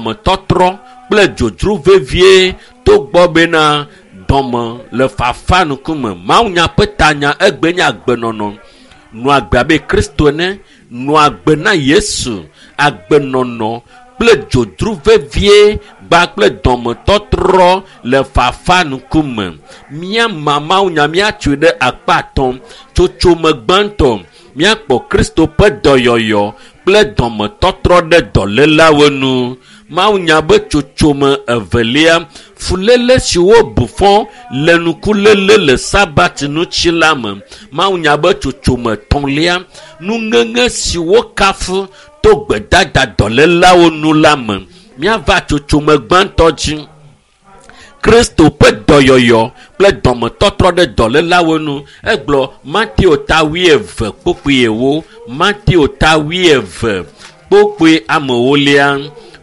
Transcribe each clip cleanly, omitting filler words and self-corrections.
Dɔmetɔtrɔ kple dzodzro vevie togbɔ bena dɔme le fafa ŋkume. Mawunya ƒe tanya egbe nye agbenɔnɔ. Nɔ agbe abe Kristo ene, nɔ agbe na Yesu, agbenɔnɔ kple dzodzro vevie gba kple dɔmetɔtrɔ le fafa ŋkume. Míama mawunya míatsoe ɖe akpa atɔ̃. Tsotsome gbãtɔ, míakpɔ Kristo ƒe dɔyɔyɔ kple dɔmetɔtrɔ ɖe dɔlélawo nu. Mawunya be tsotsome evelia, fuléle si wobu fɔ le nukuléle le Sabat ŋuti la me. Mawunya be tsotsome etɔ̃lia, nuŋeŋe si wokafu to gbedada dɔlélawo nu la me. Míava tsotsome gbãtɔ dzi. Kristo ƒe dɔyɔyɔ kple dɔmetɔtrɔ ɖe dɔlélawo nu. Egblɔ Mateo ta 20 kpukpui 40. Mateo ta 20 kpukpui ame ewolia.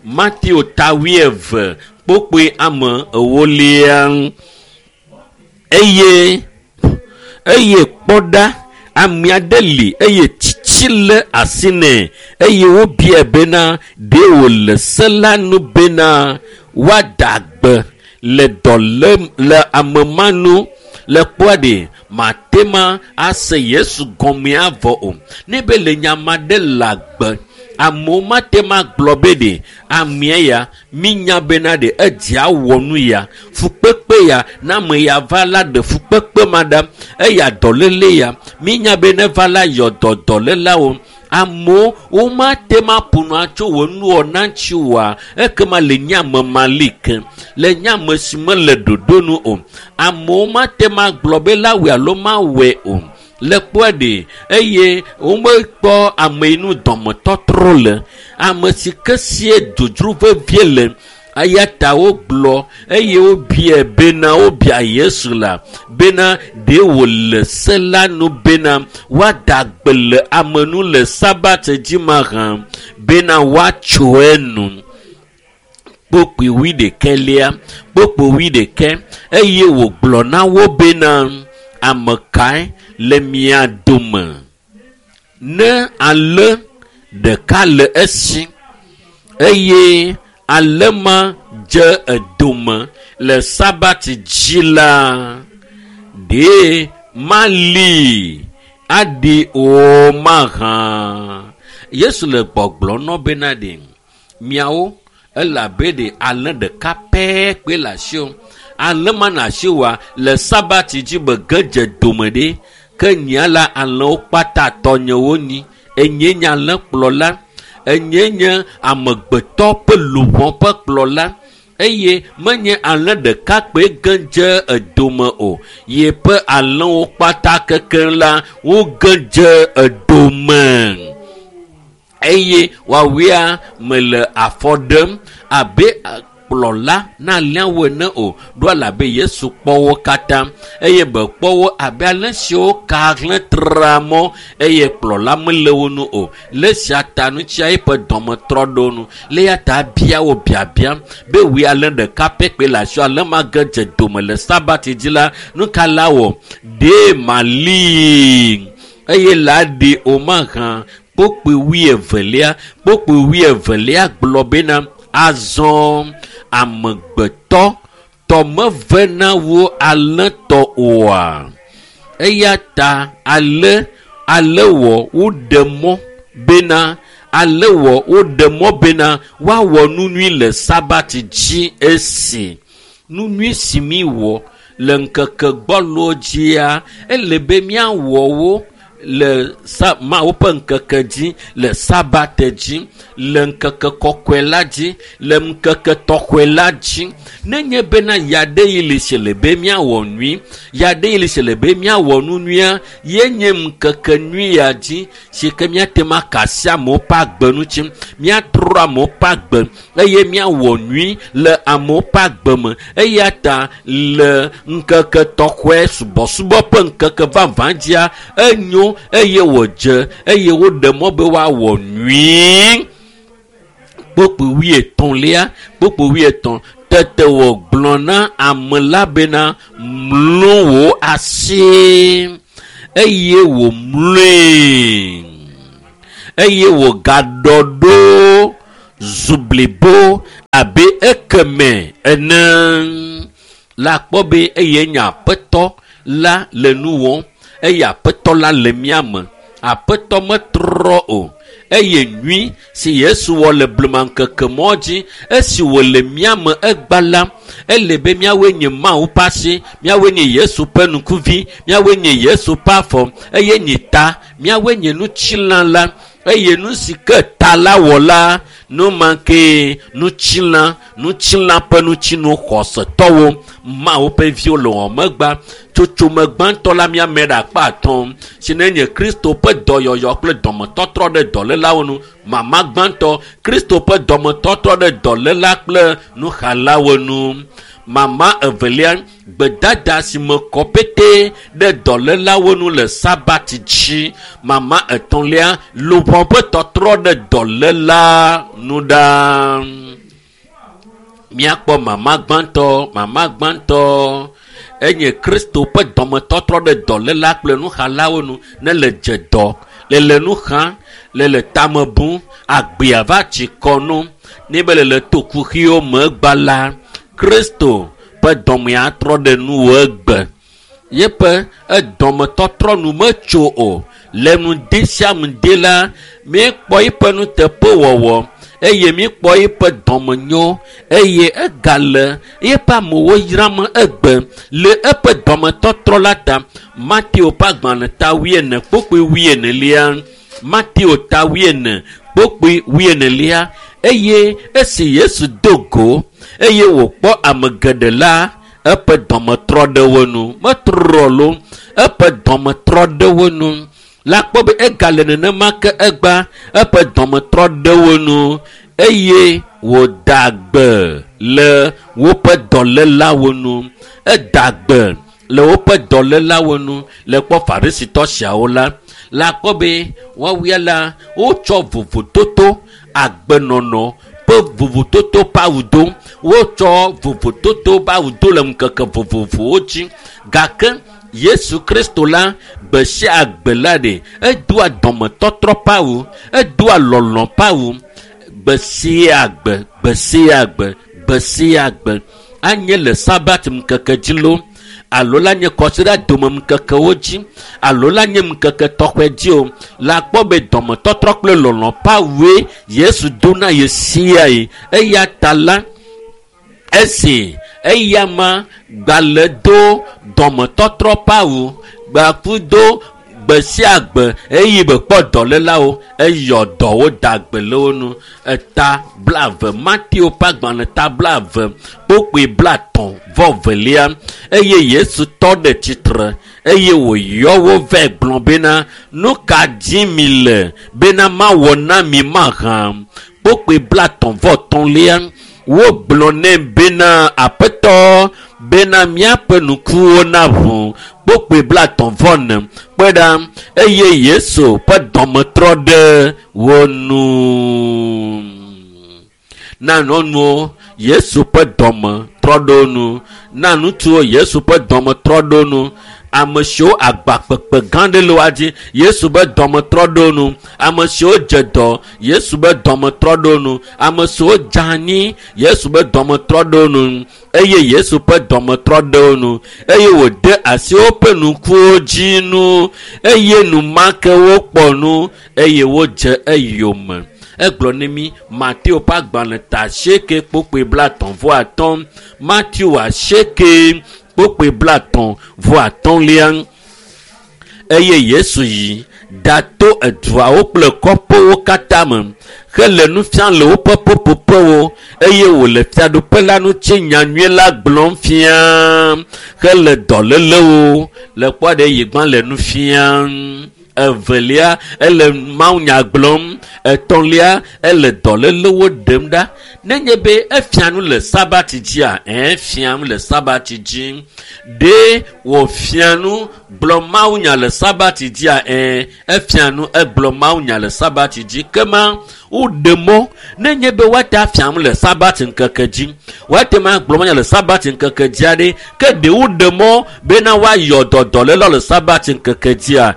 Mateo ta 20 kpukpui ame ewolia. Eye kpɔ ɖa, ame aɖe li eye tsitsi le asi nɛ eye wobiae bena ɖe wòle se la nu bena woada gbe le dɔlé le ame ma nu. Le kpɔa ɖe mate ma ase Yesu gɔme avɔ o. Ne be le nya ma ɖe le agbe, amewo mate ma gblɔ be ɖe amea ya minya bena ɖe edzia wɔ nu ya fukpekpe ya na ame ya va la ɖe fukpekpe ma ɖa eya dɔléle ya minya be ne va la yɔ dɔ dɔlélawo. Amewo womate ma ƒo nu atso wò nuwɔna ŋuti oa, ekema le nye ame mali ke, le nye ame si mele ɖoɖo nu o. Amewo mate ma gblɔ be la wɔe alo mawɔe o. Le kpɔe ɖe eye womekpɔ ame yi nu dɔmetɔtrɔ le, ame si ke sie dzodzro vevie le. Eya ta wogblɔ eye wobiae bena wobia Yesu la bena ɖe wòle se la nu bena woada gbe le ame nu le Sabat dzi mahã bena woatso enu. Kpukpui wuiɖekɛlia, kpukpui wuiɖekɛ eye wògblɔ na wo bena ame kae le mia dome ne alẽ ɖeka le esi eye alẽ ma dze edome le Sabat dzi la, ɖe mali aɖi o mahã. Yesu le gbɔgblɔ nɔ bena ɖe miawo elabe ɖe alẽ ɖeka pɛ kpe le asiwò. Alẽ ma na asiwòa le Sabat dzi be ge dze dome ɖe ke nyia la alẽwo kpata tɔnyewo nyi. Enye nye alẽkplɔla, enye nye amegbetɔ ƒe luʋɔ ƒe kplɔla eye menye alẽ ɖeka kpe ge dze edome o. Yeƒe alẽwo kpata kekeŋ la woge dze edome eye woawoea mele afɔ ɖem abe kplɔla na alẽawo ene o. Ɖo elabe Yesu kpɔ wo katã eye be kpɔ wo abe alẽ siwo ka hlẽ tra mɔ eye kplɔla mele wo nu o. Le esia ta ŋutia eƒe dɔme trɔ ɖo nu. Le eya ta bia wo biabia be wòe alẽ ɖeka pɛ kpe le asiwò, alẽ ma ge dze dome le Sabat dzi la, nu ka la wɔ? Ɖe mali eye la ɖi o mahã. Kpukpui wuievelia, kpukpui wuievelia gblɔ bena azɔ amegbetɔ tɔ mevena wu alẽtɔ oa. Eya ta ale ale wɔ woɖe mɔ bena ale wɔ woɖe mɔ bena woawɔ nu nyui le Sabat dzi esi. Nu nyui si mi wɔ le ŋkeke gbɔlowo dzia, ele be míawɔ wo le Mawu ƒe ŋkeke dzi, le Sabat dzi, le ŋkeke kɔkɔe la dzi, le ŋkeke tɔxɔe la dzi. Nenye bena yaɖe yi li si le be míawɔ nyui, yaɖe yi li si le be míawɔ nu nyuia, ye nye ŋkeke nyui ya dzi si ke míate ŋu aka asi amewo ƒe agbe ŋuti, míatrɔ amewo ƒe agbe eye míawɔ nyui le amewo ƒe agbe me. Eya ta le ŋkeke tɔxɔe subɔsubɔ ƒe ŋkeke vavã dzia, enyo eye wòdze eye woɖe mɔ be woawɔ nyui. Kpukpui wuietɔ̃lia, kpukpui wuietɔ̃, tete wògblɔ na ame la bena mlo wò asi eye wòmloe eye wògaɖɔ ɖo zu blibo. Abe ekeme ene la kpɔ be eye nye aƒetɔ la le nu wɔm eye aƒetɔ la le mía me. Aƒetɔ metrɔ o eye nyui si Yesu wɔ le blema ŋkeke mɔ dzi esi wòle mía me egba la ele be míawoe nye Mawu ƒe asi, míawoe nye Yesu ƒe ŋkuvi, míawoe nye Yesu ƒe afɔ eye nye ta, míawoe nye nutsilã la eye nu si ke ta la wɔ la nu ma ke nutsilã nutsilã ƒe nutsinu xɔsetɔwo Mawu ƒe viwo le wɔmegba tsotsome gbãtɔ la míame ɖe akpa atɔ̃ si ne nye Kristo ƒe dɔyɔyɔ kple dɔmetɔtrɔ ɖe dɔlélawo nu. Mama gbãtɔ Kristo ƒe dɔmetɔtrɔ ɖe dɔléla kple nuxalawo nu. Mama evelia gbedada si me kɔ pete ɖe dɔlélawo nu le sabati dzi. Mama etɔ̃lia luʋɔ ƒe tɔtrɔ ɖe dɔléla nu ɖa. Míakpɔ mama gbãtɔ enye Kristo ƒe dɔmetɔtrɔ ɖe dɔléla kple nuxalawo nu ne le dze dɔ le le nu xam le le tame bum agbea va tsi kɔ nu ne be le le to kuxiwo me gba la Kristo ƒe dɔmea trɔ ɖe nuwò egbe yeƒe edɔmetɔtrɔ nu metso o le ŋdi sia ŋdi la míekpɔ eƒe nuteƒewɔwɔ eye míekpɔ eƒe dɔmenyo eye egale eƒe amewo yram egbe le eƒe dɔmetɔtrɔ la ta. Mateo ƒe agbalẽ ta 40 kpukpui 40 Mateo ta 40 kpukpui 40 eye esi Yesu do go eye wòkpɔ ame geɖe la eƒe dɔmetrɔ ɖe wo nu metrɔ lo eƒe dɔmetrɔ ɖe wo nu la kpɔ be egale nenema ke egba eƒe dɔmetrɔ ɖe wo nu eye wòda gbe le woƒe dɔlélawo nu eda gbe le woƒe dɔlélawo nu le kpɔ farisitɔ siawo la la kpɔ be woawia la wotsɔ vovototo agbenɔnɔ ƒe vovototo ƒe awu do wotsɔ vovototo ƒe awu do le ŋkeke vovovowo dzi gake Yesu Kristo la gbe sia gbe la ɖe edoa dɔmetɔtrɔ ƒe awu edoa lɔlɔ̃ ƒe awu gbe sia gbe gbe sia gbe gbe sia gbe anye le sabat ŋkeke dzi lo alo la nye kɔsiɖa dome ŋkekewo dzi alo la nye ŋkeke tɔxɛ dzi o la kpɔ be dɔmetɔtrɔ kple lɔlɔ̃ ƒe awue Yesu do na ye sia yi eya ta la esi eya ma gbalẽ do dɔmetɔtrɔ ƒe awu gbaku do gbe sia gbe eye be kpɔ dɔlélawo eyɔ dɔwo da gbe le wo nu eta 20 Mateo ƒe agbalẽ ta 20 kpukpui 32 eye Yesu tɔ ɖe tsitre eye wòyɔ wo vɛ gblɔ bena nu ka dzi mi le bena mawɔ na mi mahã kpukpui 33 wogblɔ nɛ bena aƒetɔ bena míaƒe ŋkuwo naʋu kpukpui 34 kpe ɖa eye Yesu ƒe dɔmetrɔ ɖe wo nu na nyɔnuwo Yesu ƒe dɔme trɔ ɖe wo nu na ŋutsuwo Yesu ƒe dɔme trɔ ɖe wo nu ame siwo agba kpekpe gã ɖe le woa dzi Yesu ƒe dɔme trɔ ɖe wo nu ame siwo dze dɔ Yesu ƒe dɔme trɔ ɖe wo nu ame siwo dze anyi Yesu ƒe dɔme trɔ ɖe wo nu eye Yesu ƒe dɔme trɔ ɖe wo nu eye wòde asi woƒe ŋkuwo dzi nu eye enumake wokpɔ nu eye wodze eyome. Egblɔ ne mi Mateo ƒe agbalẽ ta 8 kpukpui 35 Mateo 8 kpukpui 35 eye Yesu yi ɖato eduawo kple kɔƒewo katã me hele nu fiam le woƒe ƒuƒoƒewo eye wòle fiaɖuƒe la ŋuti nyanyui la gblɔm fiam hele dɔlélewo le kpɔ ɖe yi gbã le nu fiam evelia ele mawunya gblɔm etɔ̃lia ele dɔlélewo ɖem ɖa nenye be efia nu le sabati dzia efia nu le sabati dzi ɖe wòfia nu gblɔ mawunya le sabati dzia efia nu egblɔ mawunya le sabati dzi kema woɖe mɔ nenye be woate afia nu le sabati ŋkeke dzi woate ma gblɔ mawunya le sabati ŋkeke dzia ɖe ke ɖe woɖe mɔ bena woayɔ dɔ dɔléla le sabati ŋkeke dzia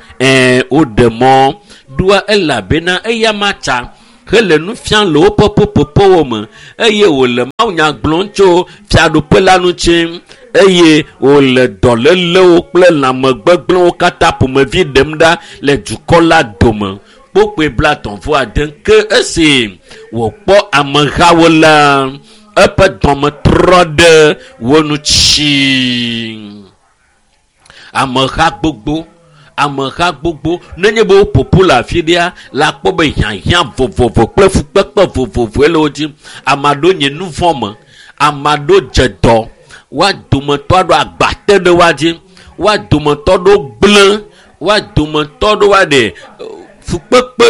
woɖe mɔ ɖoa elabena eya ma tsa. hele nu fiam le woƒe ƒuƒoƒowo me eye wòle mawunya gblɔm tso fiaɖuƒe la ŋuti eye wòle dɔlélewo kple lãmegbegblẽwo katã ƒomevi ɖem ɖa le dukɔ la dome. Kpokpoe 39 ke esi wòkpɔ amehawo la, eƒe dɔme trɔ ɖe wo ŋuti. Ameha gbogbo, ameha gbogbo, nenye be woƒoƒu le afi ɖea, la kpɔ be hiahiã vovovo kple fukpekpe vovovoe le wo dzi. Ame aɖewo nye nu vɔ̃ me, ame aɖewo dze dɔ, woa dometɔ aɖewo agba te ɖe woa dzi, woa dometɔ aɖewo gblẽ, woa dometɔ aɖewo woa ɖe fukpekpe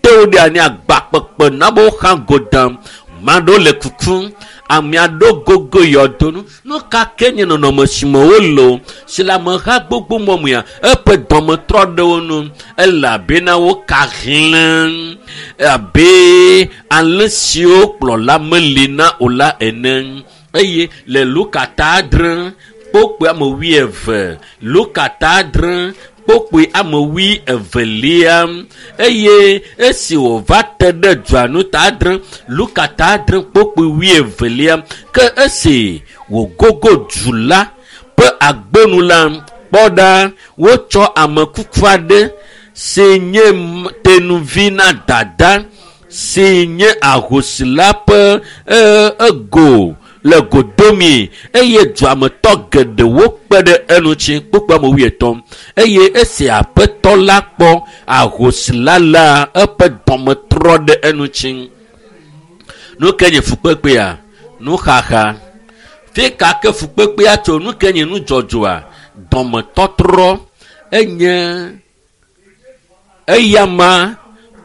te wo ɖe anyi agba kpekpe na be woxa go dam. Ame aɖewo le kukum, ame aɖewo gogo yɔdo nu. Nu ka ke nye nɔnɔme si me wole o, si le ameha gbogbo mɔ mea, eƒe dɔme trɔ ɖe wo ŋu elabena woka hlẽ abe alẽ siwo kplɔla meli na o la ene. Eye le Luka ta 6 kpokpoe ame 20, Luka ta 6 kpokpoe ame 22 eye esi wòva te ɖe dua nu ta 6, Luka ta 6 kpokpoe 22 ke esi wògogo du la ƒe agbonu la, kpɔ ɖa, wotsɔ ame kuku aɖe si nye tenuvi na dada si nye ahosi la ƒe ego le godomi eye duametɔ geɖewo kpe ɖe eŋuti kpokpoe ame 50 eye esi aƒetɔ la kpɔ ahosi la la, eƒe dɔme trɔ ɖe eŋuti. Nu ke nye fukpekpea? Nuxaxa. Fi ka ke fukpekpea tso? Nu ke nye nudzɔdzɔa? Dɔmetɔtrɔ enye eyama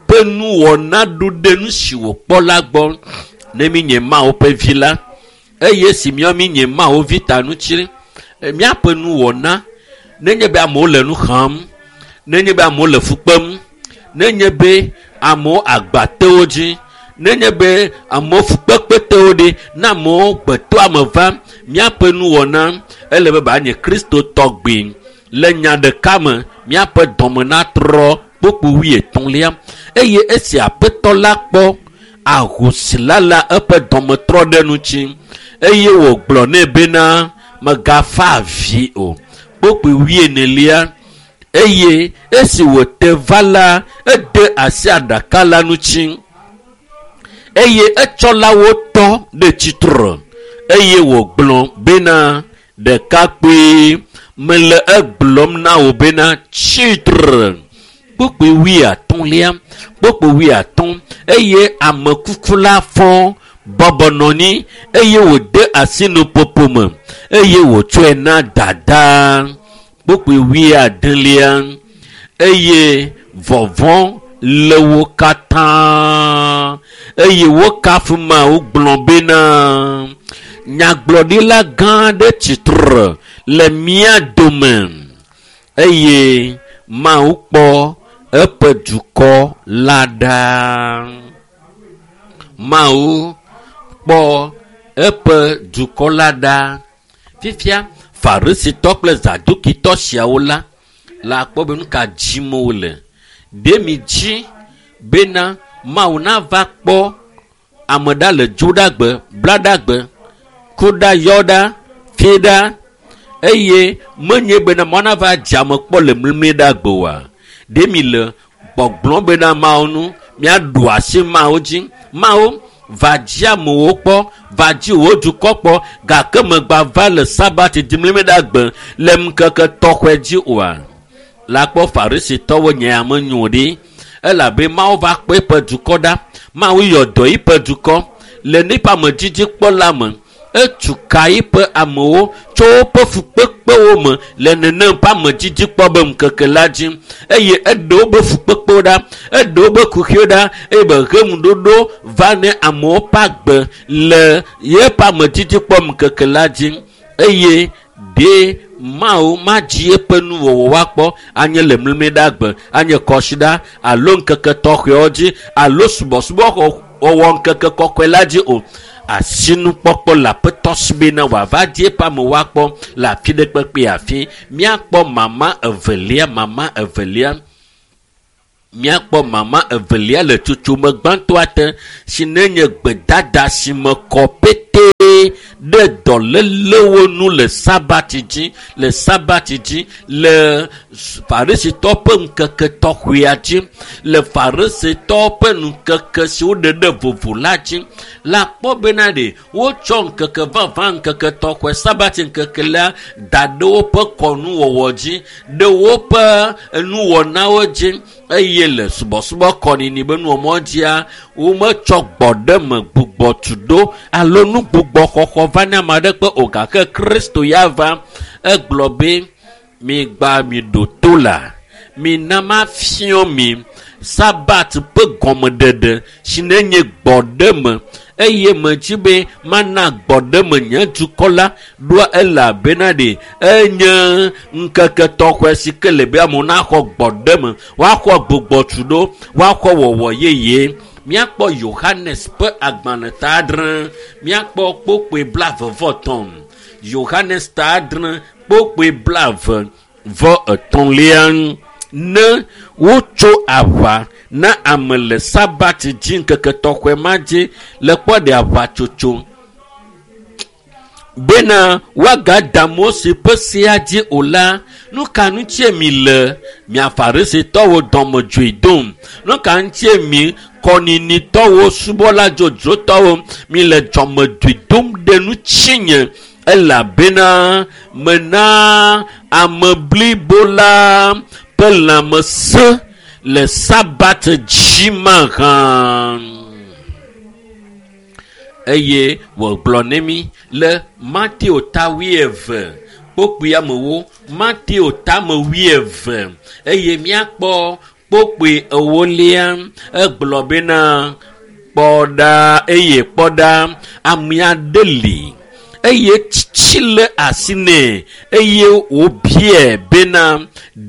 ƒe nuwɔna ɖo ɖe nu si wòkpɔ la gbɔ. Ne mi nye Mawu ƒe vi la, eye si míawo mi nye Mawu vi ta ŋuti, míaƒe nuwɔna, nenye be amewo le nu xam, nenye be amewo le fu kpem, nenye be amewo agba te wo dzi, nenye be amewo fukpekpe te wo ɖi, ne amewo gbeto ame va, míaƒe nuwɔna ele be ba nye Kristo tɔgbi. Le nya ɖeka me, míaƒe dɔme natrɔ kpokpo 33 eye esi aƒetɔ la kpɔ ahosi la la, eƒe dɔme trɔ ɖe ŋuti eye wògblɔ nɛ bena megafa avi o. Kpokpo 40 eye esi wòte va la, ede asi aɖaka la ŋuti eye etsɔlawo tɔ ɖe tsitre eye wògblɔ bena ɖekakpui, mele egblɔm na wò bena tsitre. Kpokpoe 50, kpokpoe 50 eye ame kuku la fɔ bɔbɔ nɔ anyi eye wòde asi nuƒoƒo me eye wòtsɔe na dada. Kpokpoe 90 eye vɔvɔ̃ le wo katã eye wokafu Mawu gblɔ bena nyagblɔɖila gã aɖe tsitre le mía dome eye Mawu kpɔ eƒe dukɔ la ɖa. Mawu kpɔ eƒe dukɔ la ɖa. Fifia Farisitɔ kple Zadukitɔ siawo la la kpɔ be nu ka dzim wole. Ɖe mi dzi bena Mawu nava kpɔ ame ɖa le Dzoɖagbe, Blaɖagbe, Kuɖa, Yɔɖa, Fiɖa eye menye bena Mawu nava dze ame kpɔ le Mlimliɖagbe oa? Ɖe mi le gbɔgblɔm bena Mawu nu míaɖu asi Mawu dzi. Mawu va dzi amewo kpɔ, va dzi wò dukɔ kpɔ, gake megba va le Sabati dzi Mlimliɖagbe le ŋkeke tɔxɔe dzi oa? La kpɔ Farisitɔwo nye ame nyo ɖi elabe Mawu va kpɔ eƒe dukɔ ɖa. Mawu yɔ dɔ eƒe dukɔ le neƒe amedzidzi kpɔ la me. Etu ka eƒe amewo tso woƒe fukpekpewo me le nenem ƒe amedzidzi kpɔ be ŋkeke la dzi eye eɖe wobe fukpekpewo ɖa, eɖe wobe kuxiwo ɖa eye be he ŋuɖoɖo va ne amewo ƒe agbe le yeƒe amedzidzi kpɔ ŋkeke la dzi eye ɖe Mawu madzi eƒe nuwɔwɔ woakpɔ anye le Mlimliɖagbe, anye kɔsiɖa alo ŋkeke tɔxɛwo dzi alo subɔsubɔ wɔwɔ ŋkeke kɔkɔe la dzi o. Asinukpɔkpɔ le aƒetɔ si bena wòava dzi eƒe amewo akpɔ le afi ɖe kpekpe afi. Míakpɔ mama evelia, mama evelia. Míakpɔ mama evelia le tsotsome gbãtɔa te si nenye gbedada si me kɔ petee ɖe dɔlélewo nu le sabati dzi le sabati dzi le farisitɔ ƒe ŋkeke tɔxɔea dzi le farisitɔ ƒe ŋkeke si woɖe ɖe vovo la dzi la kpɔ bena ɖe wotsɔ ŋkeke vavã ŋkeke tɔxɔe sabati ŋkeke la da ɖe woƒe kɔnuwɔwɔ dzi ɖe woƒe nuwɔnawo dzi eye le subɔsubɔ kɔnini be nuwɔmɔ dzia wometsɔ gbɔɖeme gbugbɔ tu ɖo alo nu gbugbɔ xɔxɔ va ne ame aɖe kpe o gake Kristo ya va egblɔ be migba mi ɖo to la mina mafiɔ mi sabat ƒe gɔmeɖeɖe si nenye gbɔɖeme eye medzi be mana gbɔɖeme nye dukɔ la ɖoa elabena ɖe enye ŋkeke tɔxɔe si ke le be amewo naxɔ gbɔɖeme woaxɔ gbugbɔtu ɖo woaxɔ wɔwɔ yeye. Míakpɔ Yohanes ƒe agbalẽ ta adre míakpɔ kpokpoe 23 Yohanes ta 6 kpokpoe 33 ne wotso aʋa na ame le sabati dzi ŋkeke tɔxɔe ma dzi le kpɔ ɖe aʋatsotso bena woagada Mose ƒe sea dzi o la nu ka ŋutie mi le mia farisitɔwo dɔmedzoe dom nu ka ŋutie mi kɔninitɔwo subɔla dzodzrotɔwo mi le dɔmedzoe dom ɖe ŋutinye elabena mena ame blibo la ƒe lãmesẽ le sabat dzi mahã. Eye wògblɔ ne mi le Mateo ta 20 kpokpui amewo Mateo ta me 20 eye míakpɔ kpokpui 4 egblɔ bena kpɔ ɖa eye kpɔ ɖa ame aɖe li eye tsitsi le asi nɛ eye wòbiae bena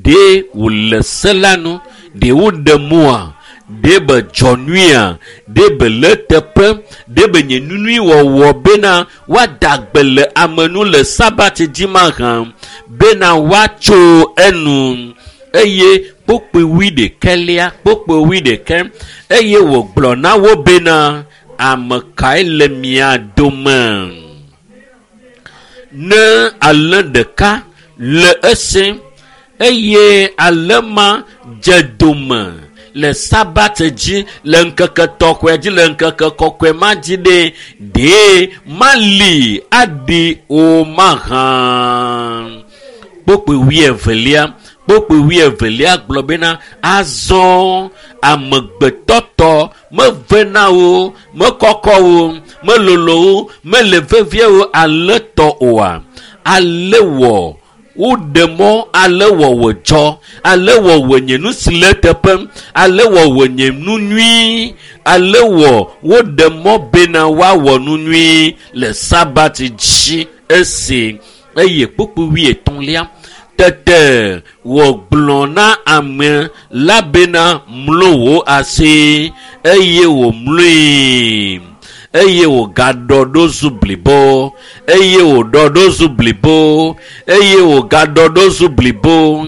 ɖe wòle se la nu ɖe woɖe mɔa ɖe be dzɔ nyuia ɖe be le teƒe ɖe be nye nunui wɔwɔ bena woada gbe le ame nu le sabati dzi mahã bena woatso enu eye kpokpui 21 eye wògblɔ na wo bena ame kae le mia dome ne alẽ ɖeka le esi eye alẽ ma dze dome le sabat dzi le ŋkeke tɔxɔe dzi le ŋkeke kɔkɔe ma dzi ɖe ɖee mali aɖi o mahã. Kpokpui 22 kpokpui 22 gblɔ bena azɔ amegbetɔtɔ mevena wo mekɔkɔ wo melolo wo mele vevie wo alẽ tɔ oa ale wɔ woɖe mɔ ale wɔ wòdzɔ ale wɔ wònye nu si le teƒe ale wɔ wònye nu nyui ale wɔ woɖe mɔ bena woawɔ nu nyui le sabati dzi esi eye kpokpui 33 tete wògblɔ na ame la bena mlo wò asi eye wòmloe eye wògaɖɔ ɖo zu blibo eye wòɖɔ ɖo zu blibo eye wògaɖɔ ɖo zu blibo.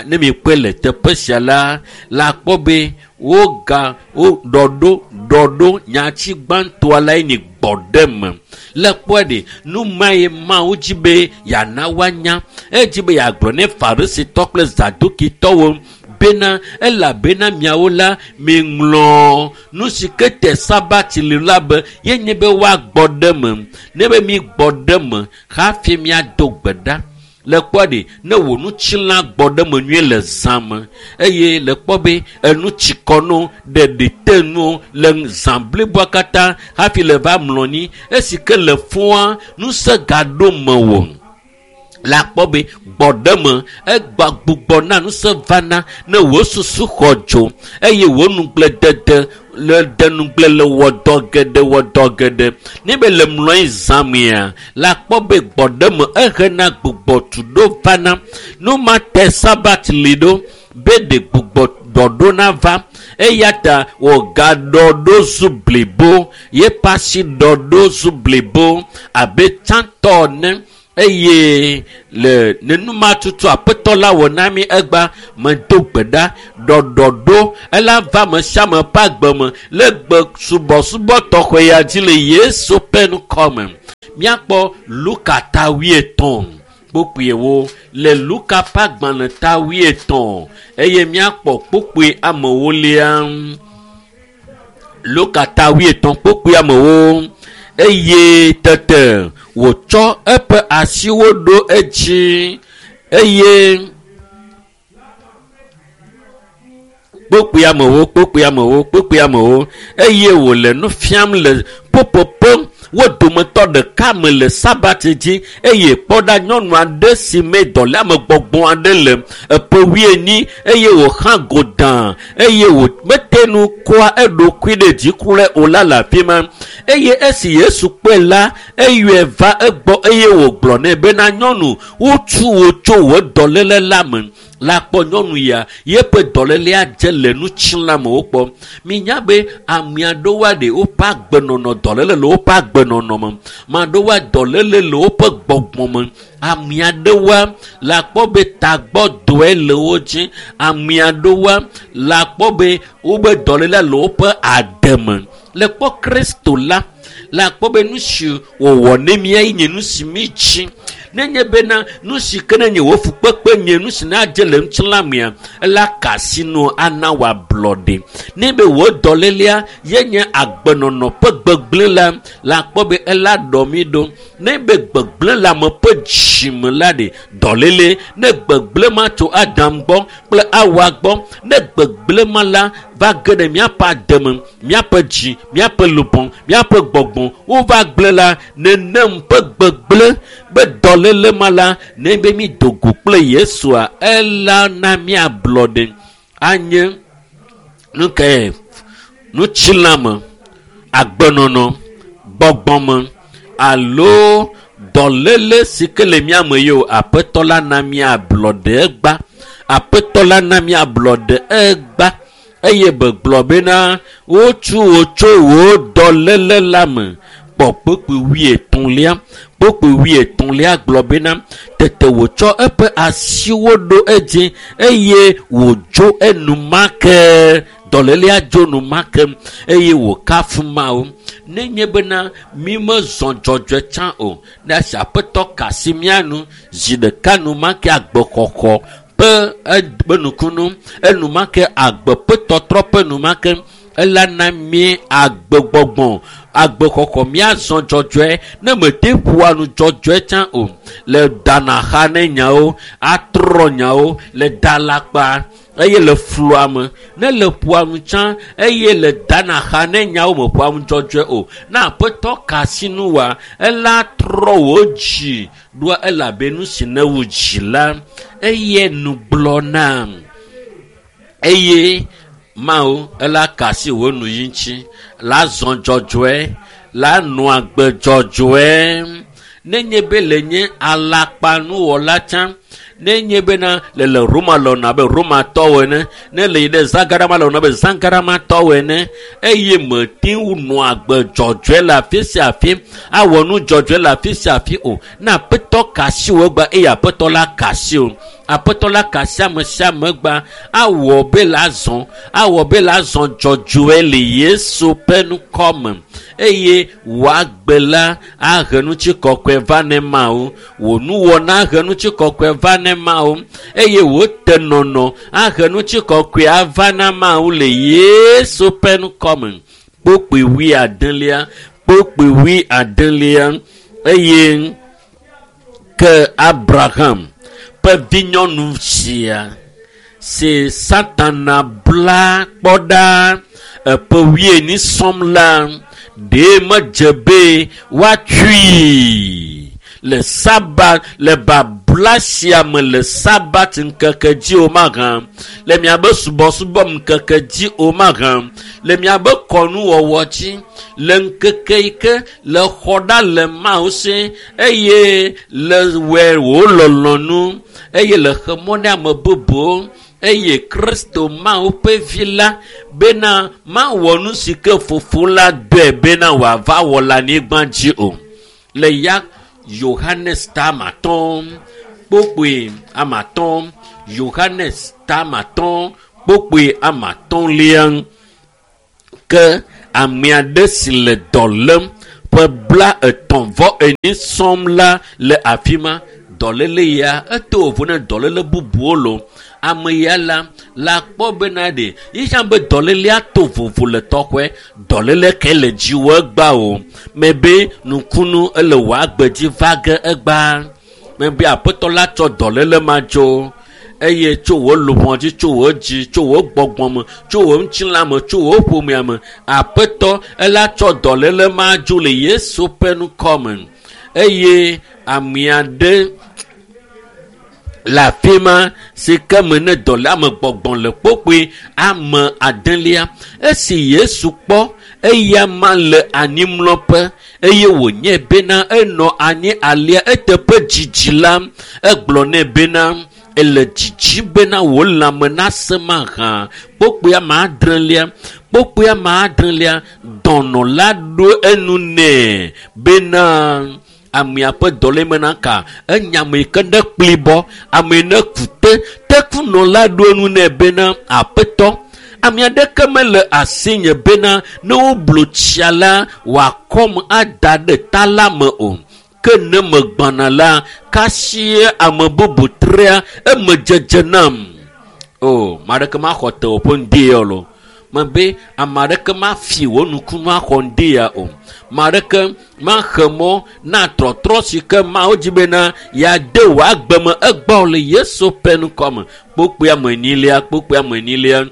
Ne mi kpɔe le teƒe sia la la kpɔ be woga woɖɔ ɖo nyati gbãtɔa la nye gbɔɖeme le kpɔe ɖe nu ma ye Mawu dzi be yeana woanya edzi be yeagblɔ ne farisitɔ kple zadukitɔwo bena elabena miawo la miŋlɔ nu si ke te sabati li la be yenye be woagbɔ ɖe me ne be mi gbɔ ɖe me hafi miado gbe ɖa le kpɔ ɖe ne wò nutsila gbɔ ɖe me nyuie le zã me eye le kpɔ be enu tsikɔ no ɖeɖi te nu le zã bliboa katã hafi le va mlɔ anyi esi ke le fũa ŋusẽ gaɖo mewò la kpɔ be gbɔɖeme egba gbugbɔ na ŋusẽ vana ne wò susu xɔ dzo eye wò nugble le denugble le wɔ dɔ geɖe ne be le mlɔ anyi zã mea la kpɔ be gbɔɖeme ehena gbugbɔ tu ɖo vana nu ma te sabat li ɖo be ɖe gbugbɔ ɖɔɖo nava eya ta wògaɖɔ ɖo zu blibo yeƒe asi ɖɔ ɖo zu blibo abe tsãtɔ ene. Eye le nenuma tutu aƒetɔ la wɔ na mi egba medo gbe ɖa ɖɔɖɔɖo ela va ame sia ame ƒe agbe me le gbe subɔsubɔ tɔxɛ ya dzi le Yesu ƒe ŋkɔme. Míakpɔ Luka ta 50 kpukpuiwo le Luka ƒe agbalẽ ta 50 eye míakpɔ kpukpui amewo lia. Luka ta 50 kpukpui amewo eye tete wòtsɔ eƒe asiwo ɖo edzi eye kpukpui amewo eye wòle nu fiam le popopo wo dometɔ ɖeka me le Sabati dzi eye kpɔ ɖa nyɔnu aɖe si me dɔléamegbɔgbɔ aɖe le eƒe 40 eye wòxa godã eye wòmete nu kɔa eɖokui ɖe dzi kura o la le afi ma. Eye esi Yesu kpɔe la, eyɔe va egbɔ eye wògblɔ nɛ bena nyɔnu, wotu wò tso wò dɔléle la me. La kpɔ nyɔnu ya yeƒe dɔlélea dze le nutsilãme wokpɔ. Minya be ame aɖewoa ɖe woƒe agbenɔnɔ dɔléle le woƒe agbenɔnɔ me. Ame aɖewoa dɔléle le woƒe gbɔgbɔ me. Ame aɖewoa la kpɔ be tagbɔdɔe le wo dzi. Ame aɖewoa la kpɔ be wobe dɔlélea le woƒe ade me. Le kpɔ Kristo la, la kpɔ be nu si wòwɔ ne mía nye nu si mi dzi. Nenye bena nu si ke ne nye wò fukpekpe nye nu si nadze le ŋutilãmea, ela ka asi nu ana wòablɔɖe. Ne be wò dɔlélea ye nye agbenɔnɔ ƒe gbegblẽ la, la kpɔ be ela ɖɔ mi ɖo. Ne be gbegblẽ le ame ƒe dzime la ɖe dɔléle, ne gbegblẽ ma tso Adam gbɔ kple Awa gbɔ, ne gbegblẽ ma la va ge ɖe míaƒe ademe, míaƒe dzi, míaƒe lubɔ, míaƒe gbɔgbɔ, wova gblẽ la, nenem ƒe gbegblẽ be dɔléle ma la, ne be mi do go kple Yesua, ela na míablɔɖe. Anye nu ke nutsilãme, agbenɔnɔ, gbɔgbɔme alo dɔléle si ke le mía me ye o, aƒetɔ la na míablɔɖe egba. Aƒetɔ la na míablɔɖe egba. Eye begblɔ bena wotu wò tso wò dɔléle la me. Kpɔ kpukpui 33. Kpukpui 33 gblɔ bena tete wòtsɔ eƒe asiwo ɖo edzi eye wòdzo enumake. Dɔlélea dzo enumake eye wòkafu Mawu. Nenye bena mi mezɔ dzɔdzɔe tsã o, ne esi aƒetɔ ka asi mía nu zi ɖeka enumake agbexɔxɔ ƒe nukunu, enumake agbe ƒe tɔtrɔ ƒe enumake ela na mí agbegbɔgbɔ, agbexɔxɔ míazɔ dzɔdzɔe. Ne mete ƒoa nu dzɔdzɔe tsã o, le danaxa ne nyawo, atrɔ nyawo, le dalakpa eye le flua me. Ne le ƒoa nu tsã eye le danaxa ne nyawo me ƒoa nu dzɔdzɔe o, ne aƒetɔ ka asi nu wa, ela trɔ wò dzi ɖoa elabe nu si ne wò dzi la, eye nu gblɔ nam. Eye Mawu ela ka asi wò nu yi ŋuti, la zɔ dzɔdzɔe, la nɔ agbe dzɔdzɔe. Nenye be le nye alakpanuwɔla tsã, nenye bena le le Roma lɔna abe Romatɔwo ene, ne le yi ɖe Zagarama lɔna abe Zagaramatɔwo ene, eye mete ŋu nɔ agbe dzɔdzɔe le afi sia afi, awɔ nu dzɔdzɔe le afi sia afi o. Ne aƒetɔ ka asi wò egba eye aƒetɔ la ka asi wò. Aƒetɔ la ka asi ame sia ame egba, awɔ be la zɔ, awɔ be la zɔ dzɔdzɔe le Yesu ƒe ŋkɔ me. Eye wò agbe la ahe ŋutikɔkɔe va ne Mawu. Wò nuwɔna ahe ŋutikɔkɔe va ne Mawu. Eye wò tenɔnɔ ahe ŋutikɔkɔe ava na Mawu le Yesu ƒe ŋkɔ me. Kpukpui 70, kpukpui 70. Eye ke Abraham ƒe vinyɔnu sia si Satana bla kpɔ ɖa eƒe 40 sɔm la, ɖe medze be woatui le Sabat, le babla sia me le Sabat ŋkeke dzi o mahã, le miabe subɔsubɔ ŋkeke dzi o mahã, le miabe kɔnuwɔwɔ dzi, le ŋkeke yi ke le xɔ ɖa le Mawu si eye le wɔe wò lɔlɔ̃nu eye le xe mɔ ne ame bubuwo eye Kristo Mawu ƒe vi la bena mawɔ nu si ke fofo la dɔe bena wòava wɔ le anyigba dzi o. Le ya Yohanes 5 kpokpoe 5, Yohanes 5 kpokpoe 5. Ke ame aɖe si le dɔ lém ƒe 34 sɔm la le afi ma. Dɔléle ya eto vovo ne dɔléle bubuwo lo. Ame ya la kpɔ bena ɖe yitsã be dɔlélea to vovo le tɔxɔe. Dɔléle ke le dziwò egba o. Mebe nukunu ele wò agbe dzi va ge egba. Mebe aƒetɔ la tsɔ dɔléle ma dzo. Eye tso wò luʋɔ dzi, tso wò dzi, tso wò gbɔgbɔ me, tso wò ŋutilã me, tso wò ƒomea me, aƒetɔ ela tsɔ dɔléle ma dzo le Yesu ƒe ŋkɔ me. Eye ame aɖe le afi ma si ke me ne dɔléame gbɔgbɔ le kpokpoe ame adelia. Esi Yesu kpɔ eya ma le anyimlɔƒe eye wònye bena enɔ anyi alia eteƒe dzidzi la, egblɔ nɛ bena ele dzidzi bena wò lãme nase mahã. Kpokpoe ame adrelia, dɔnɔ la ɖo enu nɛ bena amea ƒe dɔléme naka enya ame yi ke ne kplibɔ, ame yi ne ku te. Tekunɔ la ɖo enu nɛ bena aƒetɔ, ame aɖeke mele asinye bena ne woblu tsia la wòakɔm ada ɖe ta la me o. Ke ne megbana la, kasie ame bubu trea eme dzedze nam. O, ame aɖeke maxɔ tewò ƒe ŋdi ya o lo. Mebe ame aɖeke mafi wò nukunu axɔ ŋdi ya o. Ame aɖeke maxe mɔ na trɔtrɔ si ke Mawu dzi bena yeade wò agbe me egbɔ o le Yesu ƒe ŋkɔ me. Kpokpoe ame enyilia.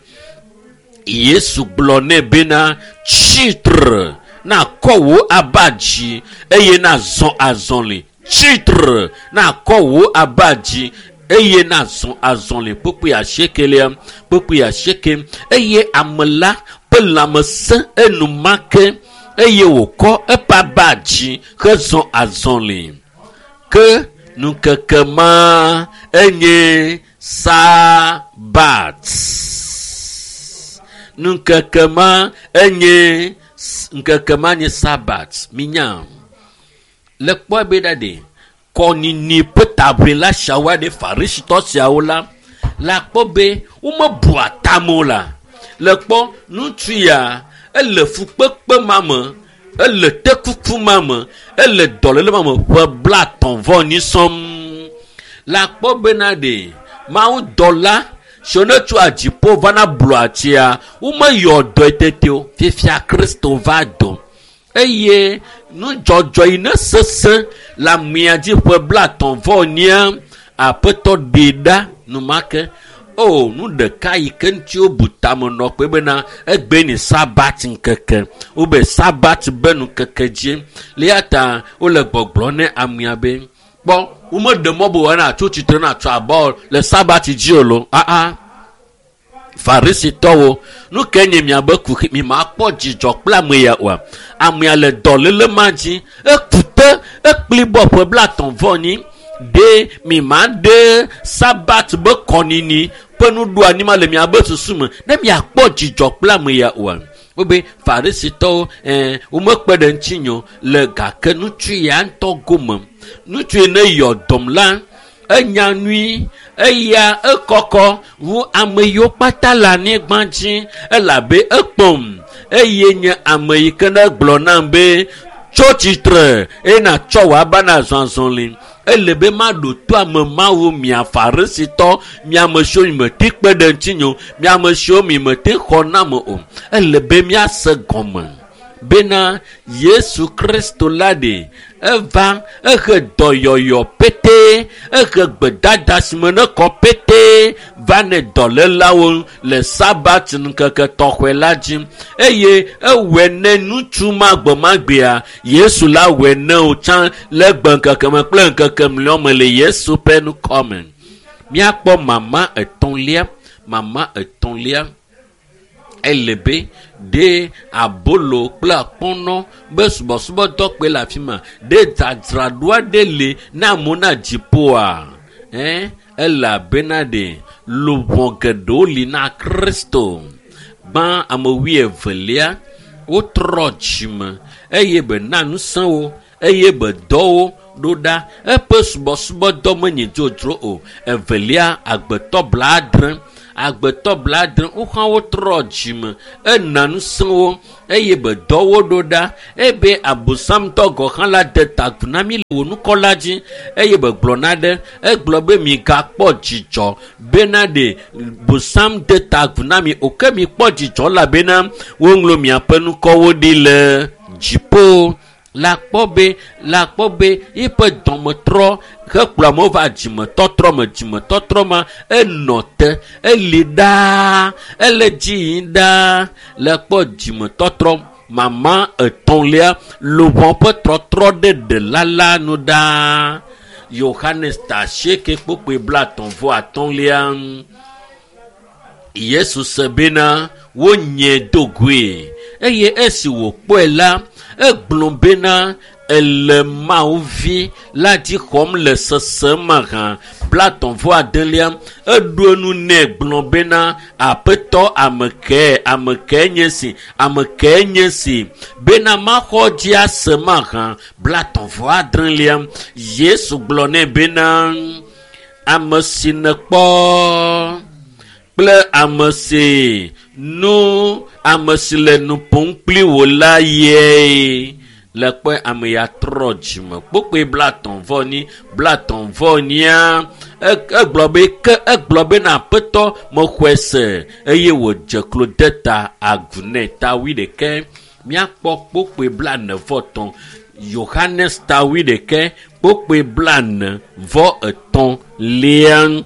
Yesu gblɔ nɛ bena tsitre nakɔ wò aba dzi eye nazɔ azɔli. Tsitre nakɔ wò aba dzi eye nazɔ azɔli. Kpokpoe 8. Eye ame la ƒe lãme sẽ enumake eye wòkɔ eƒe aba dzi hezɔ azɔli. Ke ŋkeke ma enye Sabat. Ŋkeke ma enye ŋkeke ma nye Sabat. Minya le kpɔe be ɖa ɖe kɔnini ƒe taʋlila siawo ɖe Farisitɔ siawo la kpɔ be womebua tame o la. Le kpɔ ŋutsu ya ele fukpekpe ma me, ele tekuku ma me, ele dɔléle ma me ƒe 34 sɔm. La kpɔ bena ɖe Mawu dɔla si ne tso dziƒo vana blu atsia, womeyɔ dɔe tete o. Fifia Kristo va do. Eye nudzɔdzɔ yi ne sesẽ le amea dzi ƒe 34 aƒetɔ ɖee ɖa numake. O, nu ɖeka yi ke ŋuti wobu tame nɔ kpe bena egbe ni Sabat ŋkeke. Wobe Sabat be ŋkeke dzi. Le ya ta wole gbɔgblɔ ne amea be kpɔ womeɖe mɔ be wòana tso tsitre na tso abɔ le Sabat dzi o lo. Aa. Farisitɔwo, nu ke nye miabe kuxi, mi makpɔ dzidzɔ kple ame ya oa. Amea le dɔléle ma dzi, eku te, ekplibɔ ƒe 34. Ɖe mi ma ɖe Sabat be kɔnini ƒe nuɖoanyi ma le miabe susu me ne miakpɔ dzidzɔ kple ame ya oa. Wobe Farisitɔwo, womekpe ɖe ŋutinye o le gake ŋutsu ya ŋutɔ gome. Ŋutsu yi ne yɔ dɔm la, enya nyui, eya ekɔkɔ wu ame yiwo kpata le anyigba dzi elabe ekpɔm. Eye nye ame yi ke ne gblɔ nam be tso tsitre eye natsɔ wò aba na zɔ azɔli. Ele be maɖo to ame mawo mia Farisitɔ, mia ame siwo mi mete kpe ɖe ŋutinye o, mia ame siwo mi mete xɔ nam o. Ele be míase gɔme bena Yesu Kristo la ɖe eva ehe dɔyɔyɔ pete, ehe gbedada si me ne kɔ pete va ne dɔlélawo le Sabat ŋkeke tɔxɔe la dzi. Eye ewɔe ne ŋutsu ma gbemagbea, Yesu la wɔe ne wo tsã le gbe ŋkeke me kple ŋkeke mlɔe me le Yesu ƒe ŋkɔ me. Míakpɔ mama etɔ̃lia. Ele be ɖe abolo kple akpɔnɔ be subɔsubɔdɔ kpe le afi ma. Ɖe dzadzraɖo aɖe li na amewo na dziƒoa? Elabena ɖe luʋɔ geɖewo li na Kristo. Gbã ame 22 wotrɔ dzime eye be na ŋusẽ wo eye be dɔ wo. ɖo ɖa. Eƒe subɔsubɔdɔ menye dzodzro o. Evelia, agbetɔ 70. Agbetɔ 70 woxɔ wotrɔ dzime. Ena ŋusẽ wo eye be dɔ wo ɖo ɖa. Ebe abosamtɔ gɔ̃ hã la de ta agu na mi le wò nukɔ la dzi eye be gblɔ na ɖe. Egblɔ be migakpɔ dzidzɔ bena ɖe bosam de ta agu na mi o ke mikpɔ dzidzɔ elabena woŋlɔ miaƒe nukɔwo ɖi le dziƒo. La kpɔ be la kpɔ be eƒe dɔmetrɔ hekplɔ amewo va dzimetɔtrɔ me. Dzimetɔtrɔ ma enɔ te eli ɖaa ele dzi yim ɖaa le kpɔ dzimetɔtrɔ mama etɔ̃lia luʋɔ ƒe trɔtrɔ ɖe ɖela la nu ɖaa. Yohanes ta 8 kpokpoe 35. Yesu se bena wonye do goe eye esi wòkpɔe la egblɔ bena ele Mawu vi la dzi xɔm le sese ma hã. 39 eɖo enu nɛ gblɔ bena aƒetɔ ame ke nye si ame ke nye si bena maxɔ dzi ase ma hã. 36 Yesu gblɔ nɛ bena ame si nekpɔ kple ame si nu ame si le nu ƒom kpli wò la ye le kpɔe ame ya trɔ dzime. Kpokpoe 34 34 egblɔ be ke egblɔ bena aƒetɔ mexɔe se eye wòdze klo de ta agu nɛ. Ta 21 míakpɔ kpokpoe 43. Yohanes ta 21 kpokpoe 43.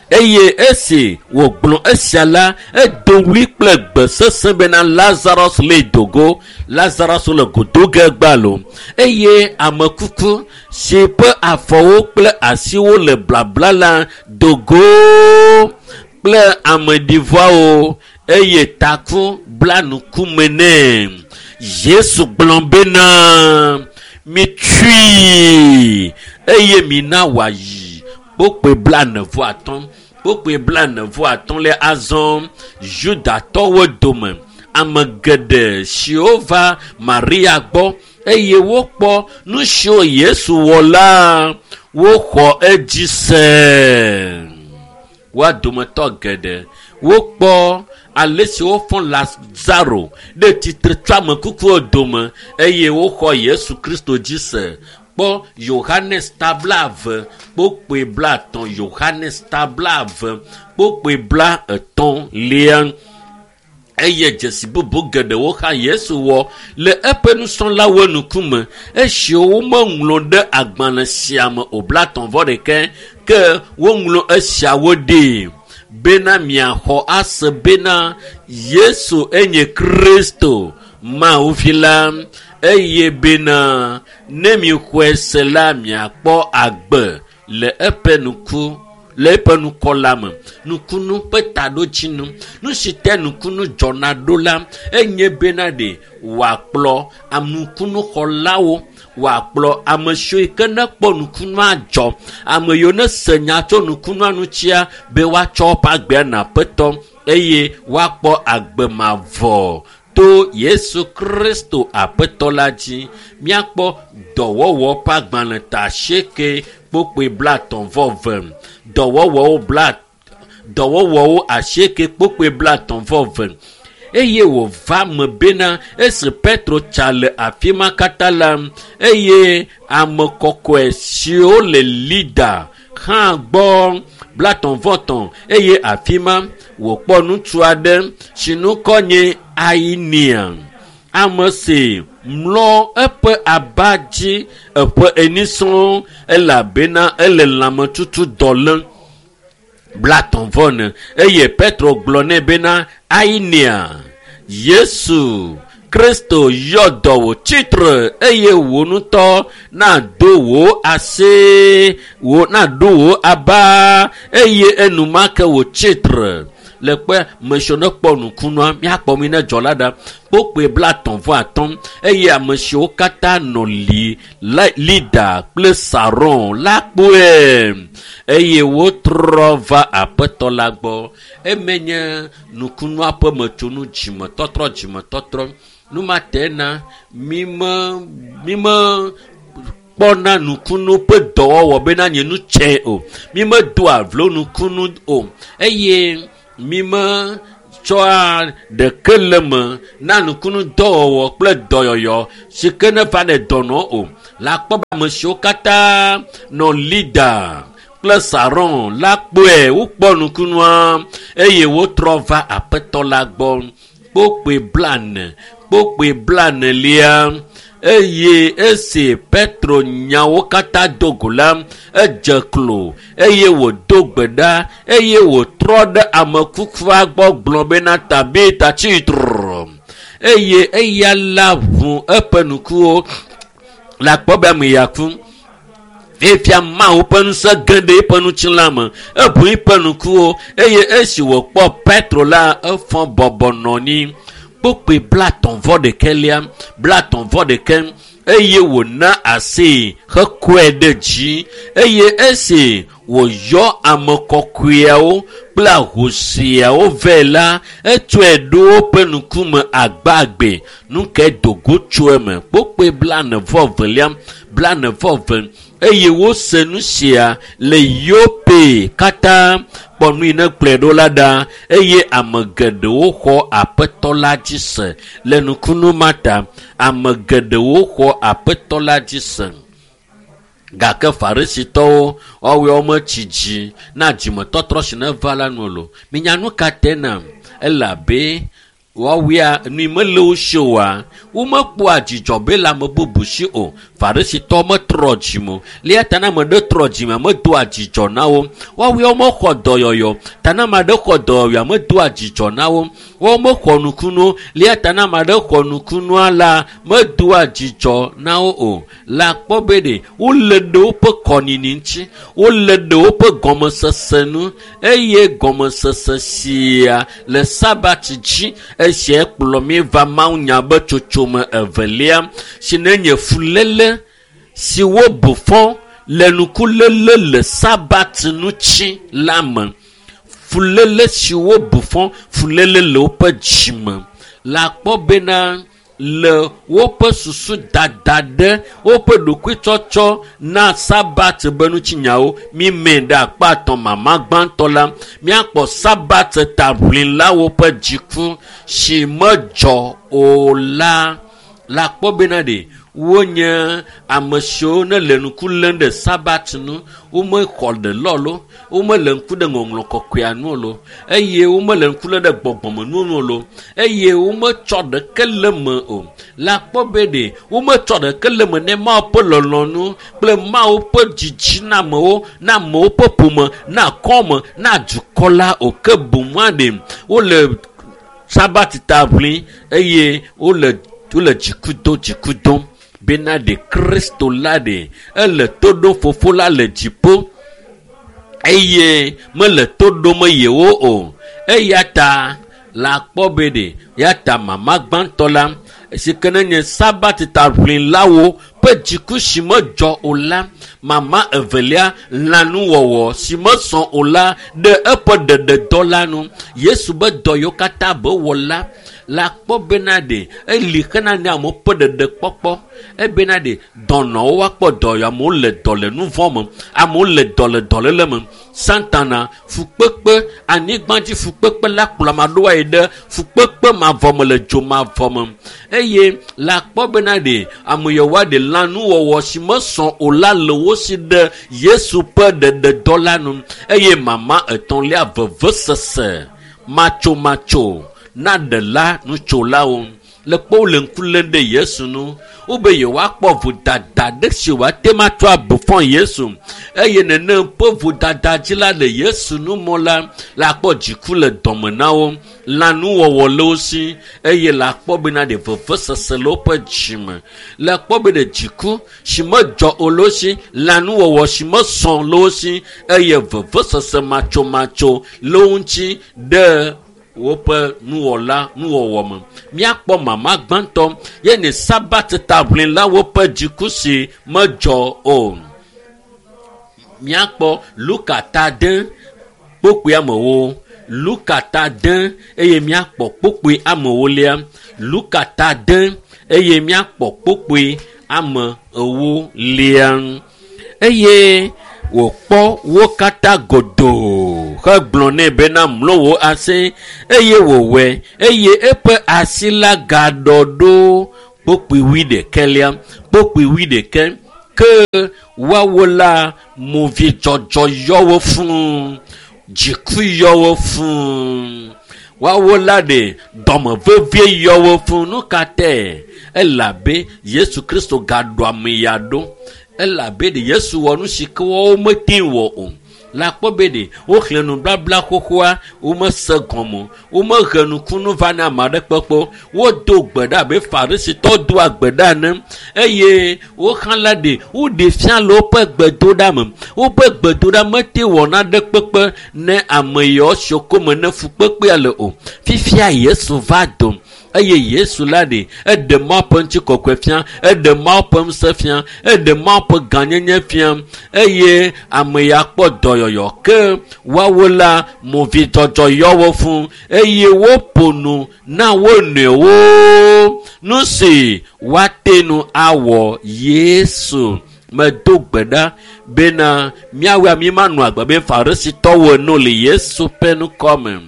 Eye esi wògblɔ esia la edo ɣli kple gbe sesẽ bena Lazarus le dogo. Lazarus le godo ge gbalo eye ame kuku si ƒe afɔwo kple asiwo le blabla la dogo kple ameɖivɔawo eye taku bla ŋkume nɛ. Yesu gblɔ bena mitsui eye mina wòayi. Kpokpoe 45 kpokpoe 45 le azɔ Judatɔwo dome ame geɖe siwo va Maria gbɔ eye wokpɔ nu siwo Yesu wɔ la woxɔ edzi se. Woa dometɔ geɖe wokpɔ ale si wofɔ Lazaro ɖe tsitre tso ame kukuwo dome eye woxɔ Yesu Kristo dzi se. Kpɔ Yohanes ta 20 kpokpoe 30. Yohanes ta 20 kpokpoe 33. Eye dzesi bubu geɖewo hã Yesu wɔ le eƒe nusrɔ̃lawo ŋkume esiwo womeŋlɔ ɖe agbalẽ sia me o. 31 ke woŋlɔ esiawo ɖi bena miaxɔ ase bena Yesu enye Kristo Mawu vi la eye bena ne mixɔe se la miakpɔ agbe le eƒe ŋku le eƒe ŋkɔ la me. Nukunu ƒe taɖodzinu nu si te nukunu dzɔna ɖo la enye bena ɖe wòakplɔ anukunuxɔlawo wòakplɔ ame siwo yi ke nekpɔ nukunua dzɔ ame yiwo ne se nya tso nukunua ŋutia be woatsɔ woƒe agbea na aƒetɔ eye woakpɔ agbe mavɔ to Yesu Kristo aƒetɔ la dzi. Míakpɔ dɔwɔwɔ ƒe agbalẽ ta 8 kpokpoe 32. Dɔwɔwɔwo 8 kpokpoe 32. Eye wòva me bena esi Petro tsa le afi ma katã la eye ame kɔkɔe siwo le Lida hã gbɔ 33 eye afi ma wòkpɔ ŋutsu aɖe si ŋkɔ nye Ainia ame si mlɔ eƒe aba dzi eƒe eni sɔŋ elabena ele lãmetutu dɔ lém. 34 eye Petro gblɔ nɛ bena Ainia Yesu Kristo yɔ dɔ wò tsitre eye wò ŋutɔ nàdo wò asi wò nàɖo wò aba eye enumake wò tsitre. Le kpe ame siwo nekpɔ nukunua míakpɔ mi ne dzɔ la ɖa. Kpokpoe 35 eye ame siwo katã nɔ li Lida kple Saron la kpɔe eye wotrɔ va aƒetɔ la gbɔ. Eme nye nukunua ƒe metsonu dzimetɔtrɔ. Nu ma te na mime kpɔna nukunu ƒe dɔwɔwɔ bena nye nu tsɛ o. Mi medoa vlo nukunu o eye mi metsɔa ɖeke le me na nukunu dɔwɔwɔ kple dɔyɔyɔ si ke ne va ne dɔnɔ o. Le akpɔ be ame siwo katã nɔ Lida kple Saron la kpɔe, wokpɔ nukunua eye wotrɔ va Aƒetɔ la gbɔ. Kpokpoe 40, kpokpoe 40 eye esi Petro nyawo katã do go la, edze klo eye wòdo gbe ɖa eye wòtrɔ ɖe ame kukua gbɔ gblɔ bena Tabita tsi tre. Eye eya la ʋu eƒe ŋkuwo le akpɔ be ame ya ku. Fifia Mawu ƒe ŋusẽ ge ɖe eƒe ŋutilã me, eʋu eƒe ŋkuwo eye esi wòkpɔ Petro la, efɔ bɔbɔ nɔ anyi. Kpokpoe 31 31 eye wòna asi hekɔe ɖe dzi eye esi wòyɔ ame kɔkɔeawo kple ahosiawo vɛ la, etsɔe ɖo woƒe ŋkume agbagbe. Nu kae do go tso eme? Kpokpoe 42 42 eye wose nu sia le Yope katã. Kpɔ nu yi ne kplɔe ɖo la ɖa eye ame geɖewo xɔ Aƒetɔ la dzi se le nukunu ma ta. Ame geɖewo xɔ Aƒetɔ la dzi se. Gake Farisitɔwo woawoe wometsi dzi na dzimetɔtrɔ si ne va la nu o. Minya nu ka te nam? Elabe woawoea nu yi mele wo si oa, womekpɔa dzidzɔ be le ame bubu si o. Farisitɔwo metrɔ dzime o. Le eya ta ne ame ɖe trɔ dzime, medoa dzidzɔ na wo. Woawoe womexɔ dɔyɔyɔ. Ta ne ame aɖe xɔ dɔyɔyɔa, medoa dzidzɔ na wo. Woawo mexɔ nukunu. Le eya ta ne ame aɖe xɔ nukunua la, medoa dzidzɔ na wo o. Le akpɔ be ɖe wole ɖe woƒe kɔnini ŋuti, wole ɖe woƒe gɔmesese nu eye gɔmesese sia le Sabat dzi. Esia kplɔ mí va mawunya be tsotsome evelia si ne nye fuléle si wobu fɔ le nukuléle le Sabat ŋuti la me. Fuléle si wobu fɔ, fuléle le woƒe dzime. Le akpɔ bena le woƒe susu dada ɖe woƒe ɖokuitsɔtsɔ na Sabat be ŋutinyawo mi me ɖe akpa atɔ̃ mama gbãtɔ la, míakpɔ Sabat taʋlilawo ƒe dziku si medzɔ o la. Le akpɔ bena ɖe wonye ame siwo ne le ŋku lém ɖe Sabat nu, womexɔ ɖe lɔ lo, womele ŋku ɖe ŋɔŋlɔ kɔkɔea nu o lo, eye womele ŋku lém ɖe gbɔgbɔmenuwo nu o lo, eye wometsɔ ɖeke le me o. Le akpɔ be ɖe wometsɔ ɖeke le me ne Mawu ƒe lɔlɔ̃nu kple Mawu ƒe dzidzi na amewo, na amewo ƒe ƒome, na akɔme, na dukɔ la o. Ke boŋua ɖe wole Sabat ta ʋlim eye wole dziku dom dziku dom bena ɖe Kristo la ɖe ele to ɖom Fofo la le dziƒo eye mele to ɖom yewo o. Eya ta le akpɔ be ɖe ya ta mama gbãtɔ la si ke ne nye Sabat taʋlilawo ƒe dziku si medzɔ o la, mama evelia lãnuwɔwɔ si mesɔ o la ɖe eƒe ɖeɖedɔ la nu. Yesu be dɔ yiwo katã be wɔ la, le akpɔ bena ɖe eli xena ne amewo ƒe ɖeɖekpɔkpɔ. Ebena ɖe dɔnɔwo woakpɔ dɔyɔ, amewo le dɔ le nu vɔ̃ me, amewo le dɔ le dɔléle me. Satana fukpekpe, anyigbadzi fukpekpe la kplɔ ame aɖewo ayi ɖe fukpekpe mavɔ me le dzo mavɔ me. Eye le akpɔ bena ɖe ame yawoa ɖe lãnuwɔwɔ si mesɔ o la le wo si ɖe Yesu ƒe ɖeɖedɔ la nu. Eye mama etɔ̃lia vevesese matsomatso na ɖela nutsolawo. Le kpɔ wole ŋku lém ɖe Yesu nu. Wobe yewoakpɔ vodada ɖe si woate ŋu atsɔ abu fɔ Yesu. Eye nenem ƒe vodada dzi la le Yesu nu mɔ la, le akpɔ dziku le dɔme na wo, lãnuwɔwɔ le wo si eye le akpɔ bena ɖe vevesese le woƒe dzime. Le akpɔ be ɖe dziku si medzɔ o le wo si, lãnuwɔwɔ si mesɔ le wo si eye vevesese matsomatso le wo ŋuti ɖe woƒe nuwɔla nuwɔwɔ me. Míakpɔ mama gbãtɔ ye ne Sabat taʋlilawo ƒe dziku si medzɔ o. Míakpɔ Luka ta de kpokpoe amewo. Luka ta de eye míakpɔ kpokpoe amewolia. Luka ta de eye míakpɔ kpokpoe ame ewolia. Eye wòkpɔ wo katã godoo hegblɔ nɛ bena mlɔ wò asi, eye wòwɔe, eye eƒe asi la gaɖɔ ɖo. Kpokpui wuiɖekɛlia, kpokpui wuiɖekɛ ke woawo la movidzɔdzɔ yɔ wo fũu, dziku yɔ wo fũu, woawo la ɖe dɔme vevie yɔ wo fũu. Nu ka tae? Elabe Yesu Kristo gaɖo ame ya ɖo. Elabe ɖe Yesu wɔ nu si ke woawo mete wɔ o. Le akpɔ be ɖe woxlẽ nubabla xoxoa, womese gɔme o, womehe nukunu va na ame aɖe kpekpe o, wodo gbe ɖa abe Farisitɔwo doa gbe ɖa ene, eye woxlã la ɖe woɖe fia le woƒe gbedoɖa me. Woƒe gbedoɖa mete wɔ naɖe kpekpe ne ame yawo siwo kome ne fukpekpea le o. Fifia Yesu va do, eye Yesu la ɖe eɖe Mawu ƒe ŋutikɔkɔe fia, eɖe Mawu ƒe ŋusẽ fia, eɖe Mawu ƒe gãnyenye fia, eye ame ya kpɔ dɔyɔyɔ. Ke woawo la movidzɔdzɔ yɔ wo fũ, eye woƒo nu na wo nɔewo nu si woate nu awɔ Yesu. Medo gbe ɖa bena míawoa mímanɔ agbe be Farisitɔwo ene le Yesu ƒe ŋkɔ me.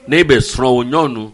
Ne be srɔ̃wò nyɔnu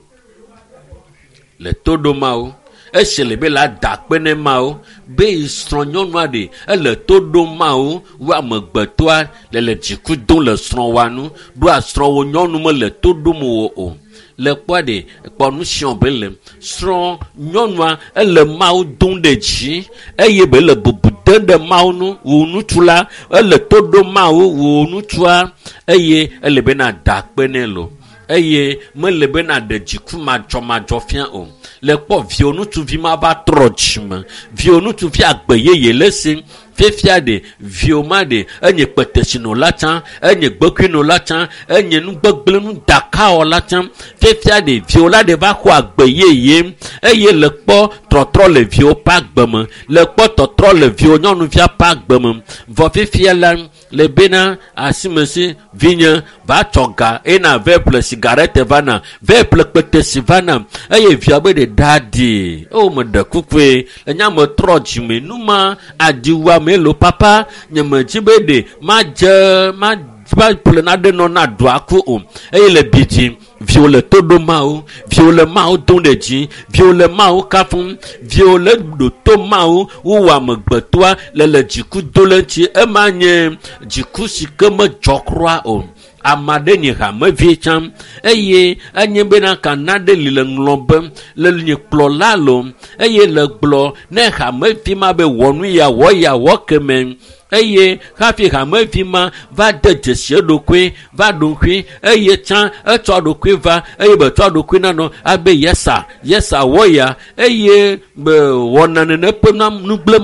le to ɖom Mawu, esi le be la da akpe ne Mawu be yi srɔ̃ nyɔnua ɖe ele to ɖom Mawu, wo amegbetɔa le le dziku dom le srɔ̃woa nu, ɖoa srɔ̃wò nyɔnu mele to ɖom wò o. Le kpɔa ɖe kpɔ nu siɔ be le srɔ̃ nyɔnua ele Mawu dom ɖe dzi eye be le bubu dem ɖe Mawu nu. Wò ŋutsu la ele to ɖom Mawu, wò ŋutsua, eye ele be na da akpe nɛ lo, eye mele be na ɖe dziku madzɔmadzɔ fia o. Le kpɔ viwò ŋutsuvi ma va trɔ dzime, viwò ŋutsuvi agbe yeye le esi. Fifia ɖe viwò ma ɖe enye kpetesinola tsã, enye gbekuinola tsã, enye nugbegblẽ nudakawɔla tsã. Fifia ɖe viwò la ɖe va xɔ agbe yeye, eye le kpɔ trɔtrɔ le viwò ƒe agbe me, le kpɔ tɔtrɔ le viwò nyɔnuvia ƒe agbe me. Vɔ fifia la le bena asimesi vinye va tsɔ ga ena vɛ ƒle sigarete va na, vɛ ƒle kpetesi va na, eye via be ɖe ɖaɖi. O meɖe kukue, enya me trɔ dzime numa adiwuame lo papa, nye medzi be ɖe madze ma va ƒle naɖe nɔ na ɖua ku o. Eye le bi dzi, viwò le to ɖom Mawu, viwò le Mawu dom ɖe dzi, viwò le Mawu kafum, viwò le ɖo to Mawu, wowɔ amegbetɔa le le dziku do le ŋuti. Ema nye dziku si ke medzɔ kura o. Ame aɖe nye hamevi tsã, eye enye bena kana ɖe li le ŋlɔ be le nye kplɔla lo, eye le gblɔ ne hamevi ma be wɔ nu ya wɔ ya wɔ keme, eye hafi hamevi ma va de dzesi eɖokui, va ɖo ŋkui, eye tsã etsɔ eɖokui va, eye be tsɔ eɖokui nanɔ abe yesa, yesa wɔ ya, eye be wɔna nene ƒe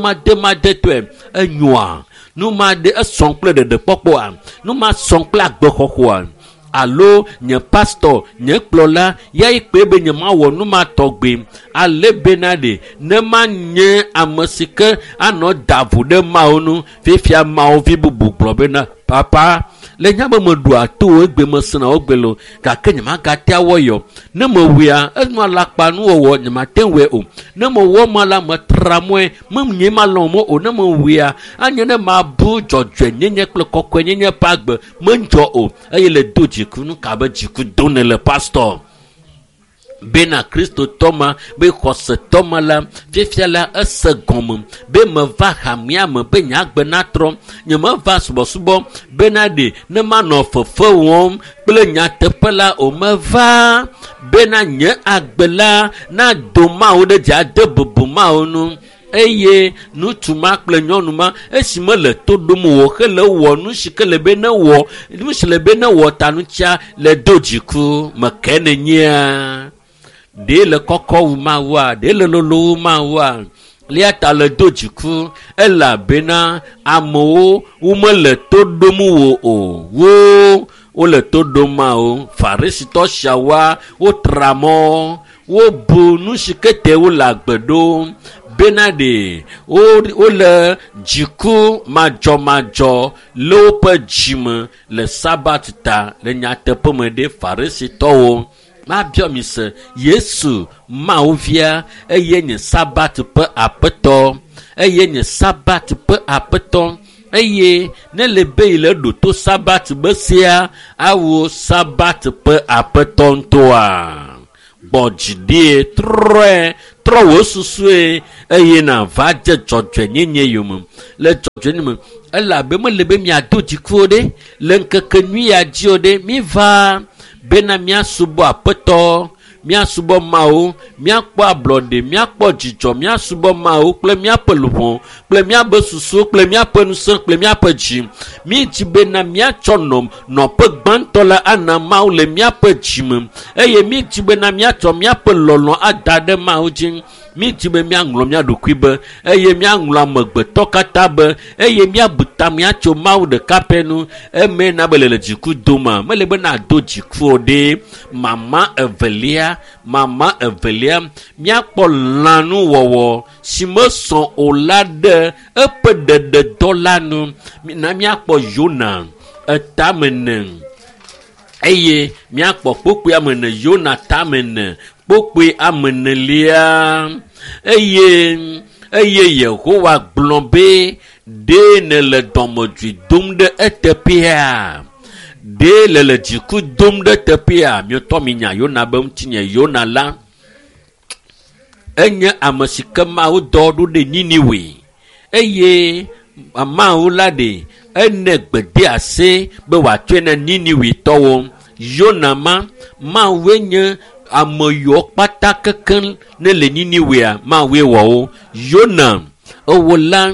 nugblẽmademadetɔe enyoa. Nu ma ɖe esɔ̃ kple ɖeɖekpɔkpɔa, nu ma sɔ̃ kple agbexɔxɔa, alo nye pastor, nye kplɔla ya yi kpe be nye mawɔ nu ma tɔgbe, ale bena ɖe ne ma nye ame si ke anɔ da vo ɖe Mawu nu. Fifia Mawu vi bubu gblɔ bena papa, le nya be meɖua to wo egbe mesena wo gbe lo, gake nye magate awɔ yɔ. Ne mewɔea, enɔ alakpa nuwɔwɔ, nye mate wɔe o. Ne mewɔ ma la, metra mɔe, menye malɔ̃ mɔ o. Ne mewɔea, anye ne mabu dzɔdzɔenyenye kple kɔkɔenyenye ƒe agbe medzɔ o. Eye le do dziku, nu ka be dziku do ne le pastor? Bena Kristotɔ ma, be xɔsetɔ ma la, fifia la ese gɔme be meva hamea me be nye agbe natrɔ. Nye meva subɔsubɔ bena ɖe ne manɔ fefe wɔm kple nyateƒe la o. Meva bena nye agbe la nado Mawu ɖe dzi, ade bubu Mawu nu. Eye ŋutsu ma kple nyɔnu ma, esi mele to ɖom wò hele wɔ nu si ke le be ne wɔ, nu si le be ne wɔ ta ŋutia le do dziku me ke ne nyea. Ɖe le kɔkɔ wu Mawua, ɖe le lolo wu Mawua, lia ta le do dziku, elabena amewo womele to ɖom wò o. Wo wole to ɖom Mawu. Farisitɔ siawoa wotra mɔ, wobu nu si ke te wole agbe ɖom bena ɖe wole dziku madzɔmadzɔ le woƒe dzime le Sabat ta. Le nyateƒe me ɖe Farisitɔwo mabiɔ mi se, Yesu Mawu via eye nye Sabat ƒe aƒetɔ. eye nye Sabat ƒe Aƒetɔ. Eye ne le be yi le ɖo to Sabat be sea, awo Sabat ƒe Aƒetɔ ŋutɔa. Gbɔ dzi ɖie, trɔe, trɔ wò susue, eye nàva dze dzɔdzɔenyenye yome. Le dzɔdzɔenyenye me, elabe mele be miado dziku o ɖe, le ŋkeke nyui ya dzi o ɖe, miva bena míasubɔ Aƒetɔ, míasubɔ Mawu, míakpɔ ablɔɖe, míakpɔ dzidzɔ, míasubɔ Mawu kple míaƒe luʋɔ, kple míaƒe susu, kple míaƒe ŋusẽ, kple míaƒe dzi. Mídzi bena míatsɔ nɔƒe gbãtɔ la ana Mawu le míaƒe dzi me, eye mídzi bena míatsɔ míaƒe lɔlɔ̃ ada ɖe Mawu dzi. Mídzi be míaŋlɔ mía ɖokui be, eye míaŋlɔ amegbetɔ katã be, eye míabu ta míatso Mawu ɖeka pɛ nu. Eme na be le dziku doma, mele be nado dziku o ɖe. Mama evelia, míakpɔ lãnuwɔwɔ si mesɔ o la ɖe eƒe ɖeɖedɔ la nu. Na míakpɔ Yona etame ne, eye míakpɔ kpokpoe ame ne, Yona tame ne, kpokpoe ame nelia. Eye Yehowa gblɔ be, ɖe nele dɔmedzoe dom ɖe eteƒea? Ɖe le dziku dom ɖe teƒea? Miotɔ minya Yona be ŋutinye. Yona la enye ame si ke Mawu dɔ ɖo ɖe Niniwe, eye Mawu la ɖe ene gbedease be wòatsɔe na Niniwetɔwo. Yona ma, Mawue nye ame yiwo kpata kekeŋ ne le Niniwea, Mawue wɔ wo. Yona ewo la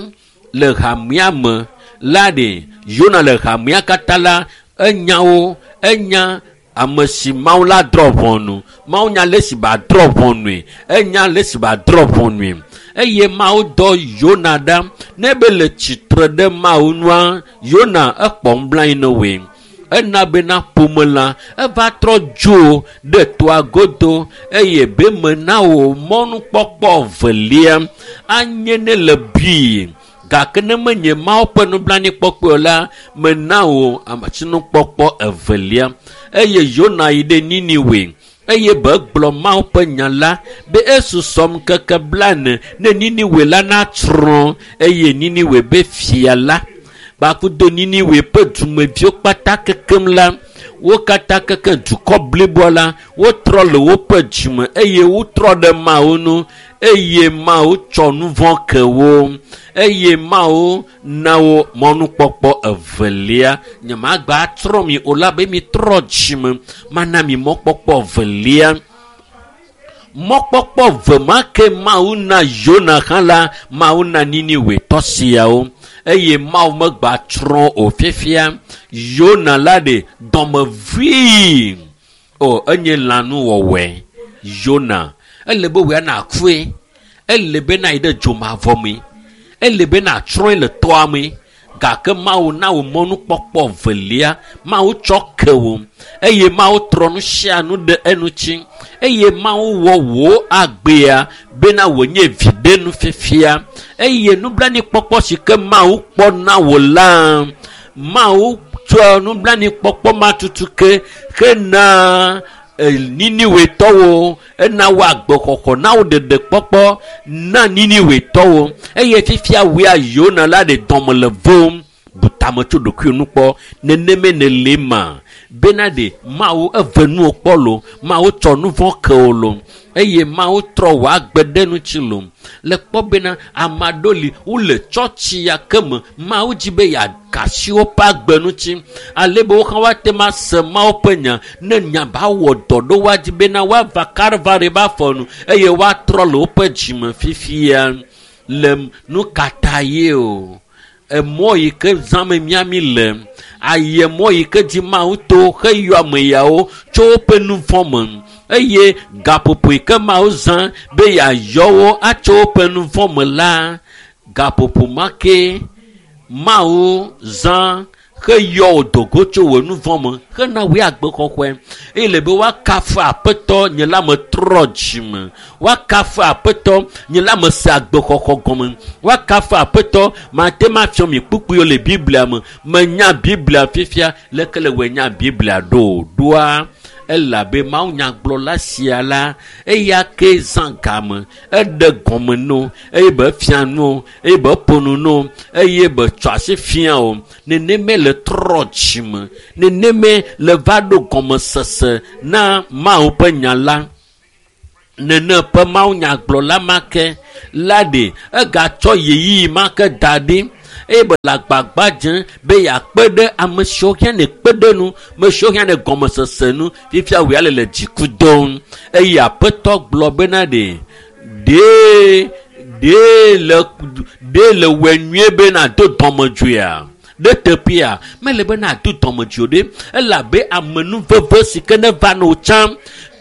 le hamea me la ɖe, Yona le hamea katã la, enya wo, enya ame si Mawu la drɔ̃ ʋɔnu. Mawu nya le si ba drɔ̃ ʋɔnue, enya le si ba drɔ̃ ʋɔnue. Eye Mawu dɔ Yona ɖa ne be le tsitre ɖe Mawu nua, Yona ekpɔ nublanui na woe. Ena bena ƒome la eva trɔ dzo ɖe toa godo, eye be mena wo mɔnukpɔkpɔ velia anye ne le bui. Gake ne menye Mawu ƒe nublanuikpɔkpɔ o la, mena wo asinukpɔkpɔ evelia. Eye Yona yi ɖe Niniwe, eye be gblɔ Mawu ƒe nya la be esusɔ ŋkeke 40 ne Niniwe la natsrɔ̃. Eye Niniwe be fia la kpakudo Niniwe ƒe dumeviwo kpata kekem la, wo katã keke dukɔ bliboa la, wotrɔ le woƒe dzime eye wotrɔ ɖe Mawu nu, eye Mawu tsɔ nu vɔ̃ ke wo, eye Mawu na wo mɔnukpɔkpɔ evelia. Nyemagba atrɔ mi o la be mitrɔ dzime, mana mi mɔkpɔkpɔ evelia. Mɔkpɔkpɔ ve ma ke Mawu na Yona hã la, Mawu na Niniwetɔ siawo, eye Mawu megba tsrɔ̃ o fifia. Yona la ɖe dɔmevui o, enye lãnuwɔwɔe. Yona ele be wòya nakue, ele be nayi ɖe dzomavɔ me, ele be natsrɔ̃e le tɔa me. Gake Mawu na wò mɔnukpɔkpɔ velia, Mawu tsɔ ke wò, eye Mawu trɔ nu sia nu ɖe eŋuti, eye Mawu wɔ wò agbea bena wònye viɖenu fifia. Eye nublanuikpɔkpɔ si ke Mawu kpɔ na wò la, Mawu tsɔ nublanuikpɔkpɔ ma tutu ke hena Niniwetɔwo, ena wo agbexɔxɔ, na wo ɖeɖekpɔkpɔ na Niniwetɔwo. Eye fifia wòya Yona la ɖe dɔme le vom. Bu tame tso ɖokuiwò nu kpɔ, neneme nèle ma bena ɖe Mawu eve nuwò kpɔ lo, Mawu tsɔ nu vɔ̃ ke wò lo, eye Mawu trɔ wò agbe ɖe ŋuti lo. Le kpɔ bena ame aɖewo li wole tsɔtsi ya ke me, Mawu dzi be yeaka asi woƒe agbe ŋuti, ale be wo hã woate ŋu ase Mawu ƒe nya, ne nya ba wɔ dɔ ɖo woadzi bena woava Kalvari ƒe afɔ nu, eye woatrɔ le woƒe dzime fifia. Le nu ka ta ye o? Emɔ yi ke zãme míami le, ayi mɔ yi ke dzi Mawu to heyɔ ame yawo tso woƒe nu vɔ̃ me, eye gaƒoƒo yi ke Mawu zã be yeayɔ wo atso woƒe nu vɔ̃ me la, gaƒoƒo ma ke Mawu zã heyɔ wò dogo tso wò nu vɔ̃ me hena wò agbexɔxɔe. Eye le be woakafu Aƒetɔ, nye la metrɔ dzime. Woakafu Aƒetɔ, nye la mese agbexɔxɔ gɔme. Woakafu Aƒetɔ, mate ŋu afiɔ mi kpukpuiwo le Biblia me. Menya Biblia fifia, leke le wòe nya Biblia ɖo? Ɖoa Elabe mawunyagblɔla sia la, eya ke zã game, eɖe gɔme no, eye be fia nu, eye be ƒo nu no, eye be tsɔ asi fia o. Neneme le trɔ dzime, neneme le va ɖo gɔmesese na Mawu ƒe nya la. Nene ƒe mawunyagblɔla ma ke la ɖe egatsɔ ɣeyiɣi ma ke da ɖi eye be le agbagba dzem be yeakpe ɖe ame siwo hiã ne kpe ɖe nu, ame siwo hiã ne gɔmesese nu. Fifia wòya le le dziku dom eye Aƒetɔ gblɔ bena ɖe ɖe le wɔe nyuie be nàdo dɔmedzoea ɖe teƒea mele be nàdo dɔmedzoe ɖe, elabe amenuveve si ke ne va na wò tsã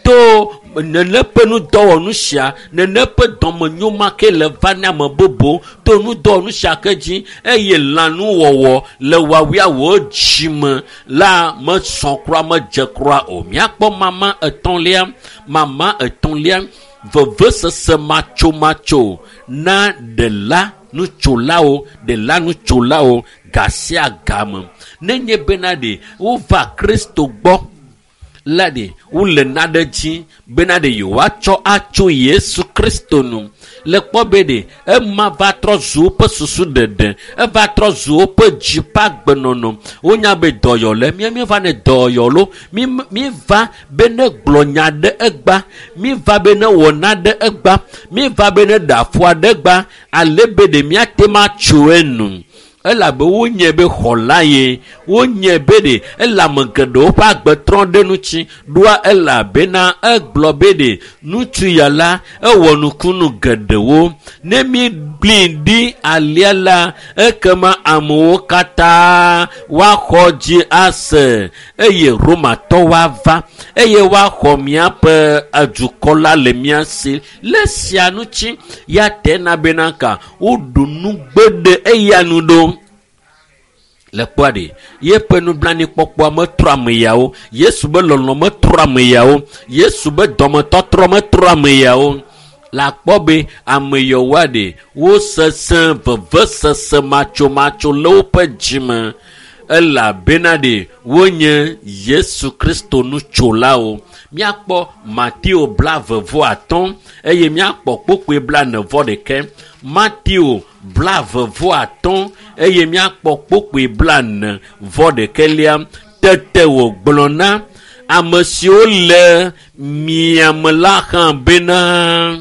to nene ƒe nudɔwɔnu sia, nene ƒe dɔmenyo ma ke le va na ame bubu to nudɔwɔnu sia ke dzi eye lãnuwɔwɔ le wɔawia wò dzime la mesɔ kura medze kura o. Míakpɔ mama etɔ̃lia, vevesese matsomatso na ɖela nutsolawo ga sia game. Nenye bena ɖe wova Kristo gbɔ la ɖe wole naɖe dzi bena ɖe yewoatsɔ atso Yesu Kristo nu. Le kpɔ be ɖe ema va trɔ zu woƒe susu ɖeɖe, eva trɔ zu woƒe dzi ƒe agbenɔnɔ. Wonya be dɔyɔle, míeva ne dɔyɔlo, míeva be ne gblɔ nya ɖe egba, míeva be ne wɔ naɖe egba, míeva be ne ɖe afɔ ɖe egba, ale be ɖe míate ma tso enu. Elabe wonye be xɔla ye, wonye be ɖe ele ame geɖewo ƒe agbe trɔ ɖe ŋuti ɖoa, elabena egblɔ be ɖe ŋutsu ya la ewɔ nukunu geɖewo. Ne mígblẽe ɖi alea la, ekema amewo katã woaxɔ dzi ase eye Romatɔwo ava eye woaxɔ míaƒe dukɔ la le mía si. Le sia ŋuti ya tena bena ka woɖu nugbe ɖe eya nu ɖo. Le kpɔa ɖe yeƒe nublanuikpɔkpɔa metrɔ ame yawo, Yesu be lɔlɔ̃ metrɔ ame yawo, Yesu be dɔmetɔtrɔ metrɔ ame yawo. Le akpɔ be ame yawoa ɖe wosesẽ vevesese matsomatso le woƒe dzime, elabena ɖe wonye Yesu Kristo nutsolawo. Míakpɔ Mateo 25 eye míakpɔ kpukpui 41. Mateo 25 eye míakpɔ kpukpui 41. Tete wògblɔ na ame siwo le miame la hã bena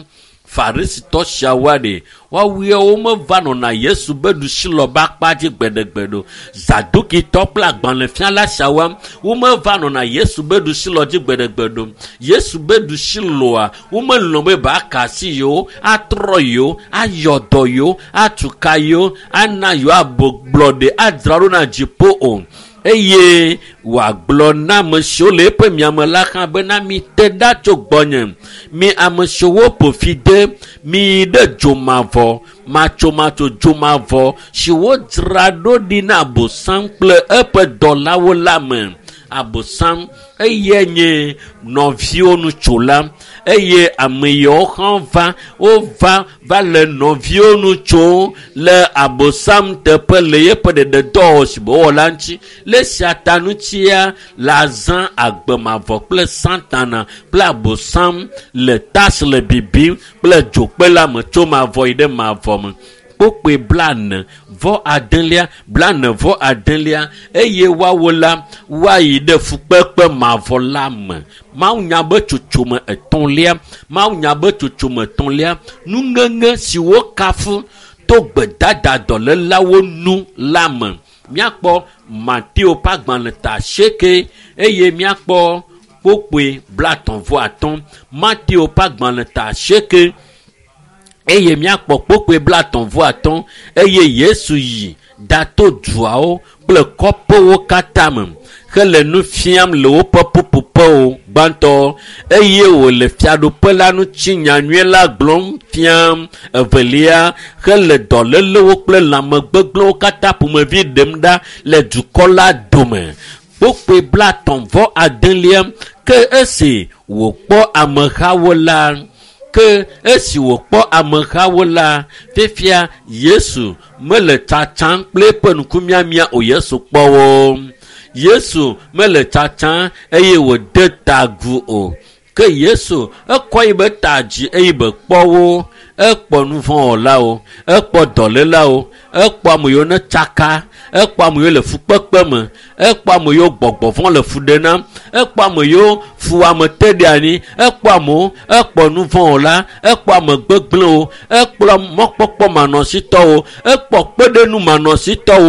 Farisitɔ siawoa ɖe woawoe meva nɔna Yesu be ɖusilɔ be akpa dzi gbeɖegbe ɖo. Zadukitɔ kple agbalẽfiala siawoa womeva nɔna Yesu be ɖusilɔ dzi gbeɖegbe ɖo. Yesu be ɖusilɔa womelɔ̃ be ba ka asi yewo, atrɔ yewo, ayɔ dɔ yewo, atu ka yewo, ana yewo abɔgblɔ ɖe adzra ɖo na dziƒo o. Eye wòagblɔ na ame siwo le eƒe miame la hã bena mite ɖa tso gbɔnye, mi ame siwo ƒo fi de, miyi ɖe dzomavɔ matsomatso dzomavɔ si wodzra ɖo ɖi na Abosam kple eƒe dɔlawo la me. Abosam eye nye nɔviwo nutsola, eye ame yawo hã va, wova va le nɔviwo nu tsom le Abosam teƒe le yeƒe ɖeɖedɔwɔwɔ si wòwɔ la ŋuti. Le esia ta ŋutia le azã agbemavɔ kple Satana kple Abosam le tas le bibim kple dzokpe la me tso mavɔ yi ɖe mavɔ me. Kpukpui 49 49 eye woawo la woayi ɖe fukpekpe mavɔ la me. Mawunya be tsotsome etɔ̃lia, nuŋeŋe si wokafu to gbedada dɔlélawo nu la me. Míakpɔ Mateo ƒe agbalẽ ta 8 eye míakpɔ kpukpui 35. Mateo ƒe agbalẽ ta 8 eye míakpɔ kpukpui 35. Eye Yesu yi ɖato duawo kple kɔƒewo katã me hele nu fiam le woƒe ƒuƒoƒewo gbãtɔ, eye wòle fiaɖuƒe la ŋuti nyanyui la gblɔm fiam. Evelia, hele dɔlélewo kple lãmegbegblẽwo katã ƒomevi ɖem ɖa le dukɔ la dome. Kpukpui 39. Ke esi wòkpɔ amehawo la, fifia Yesu mele tsatsam kple eƒe ŋkumiamia o. Yesu kpɔ wo. Yesu mele tsatsa eye wòde ta agu o. Ke Yesu ekɔ yi be ta dzi eye be kpɔ wo. Ekpɔ nuvɔ̃wɔlawo, ekpɔ dɔlélawo, ekpɔ ame yiwo ne tsaka, ekpɔ ame yiwo le fukpekpe me, ekpɔ ame yiwo gbɔgbɔ vɔ̃ le fu ɖe na, ekpɔ ame yiwo fuwɔame te ɖe anyi, ekpɔ amewo, ekpɔ nuvɔ̃wɔla, ekpɔ ame gbegblẽwo, ekplɔ mɔkpɔkpɔ manɔsitɔwo, ekpɔ kpeɖenu manɔsitɔwo.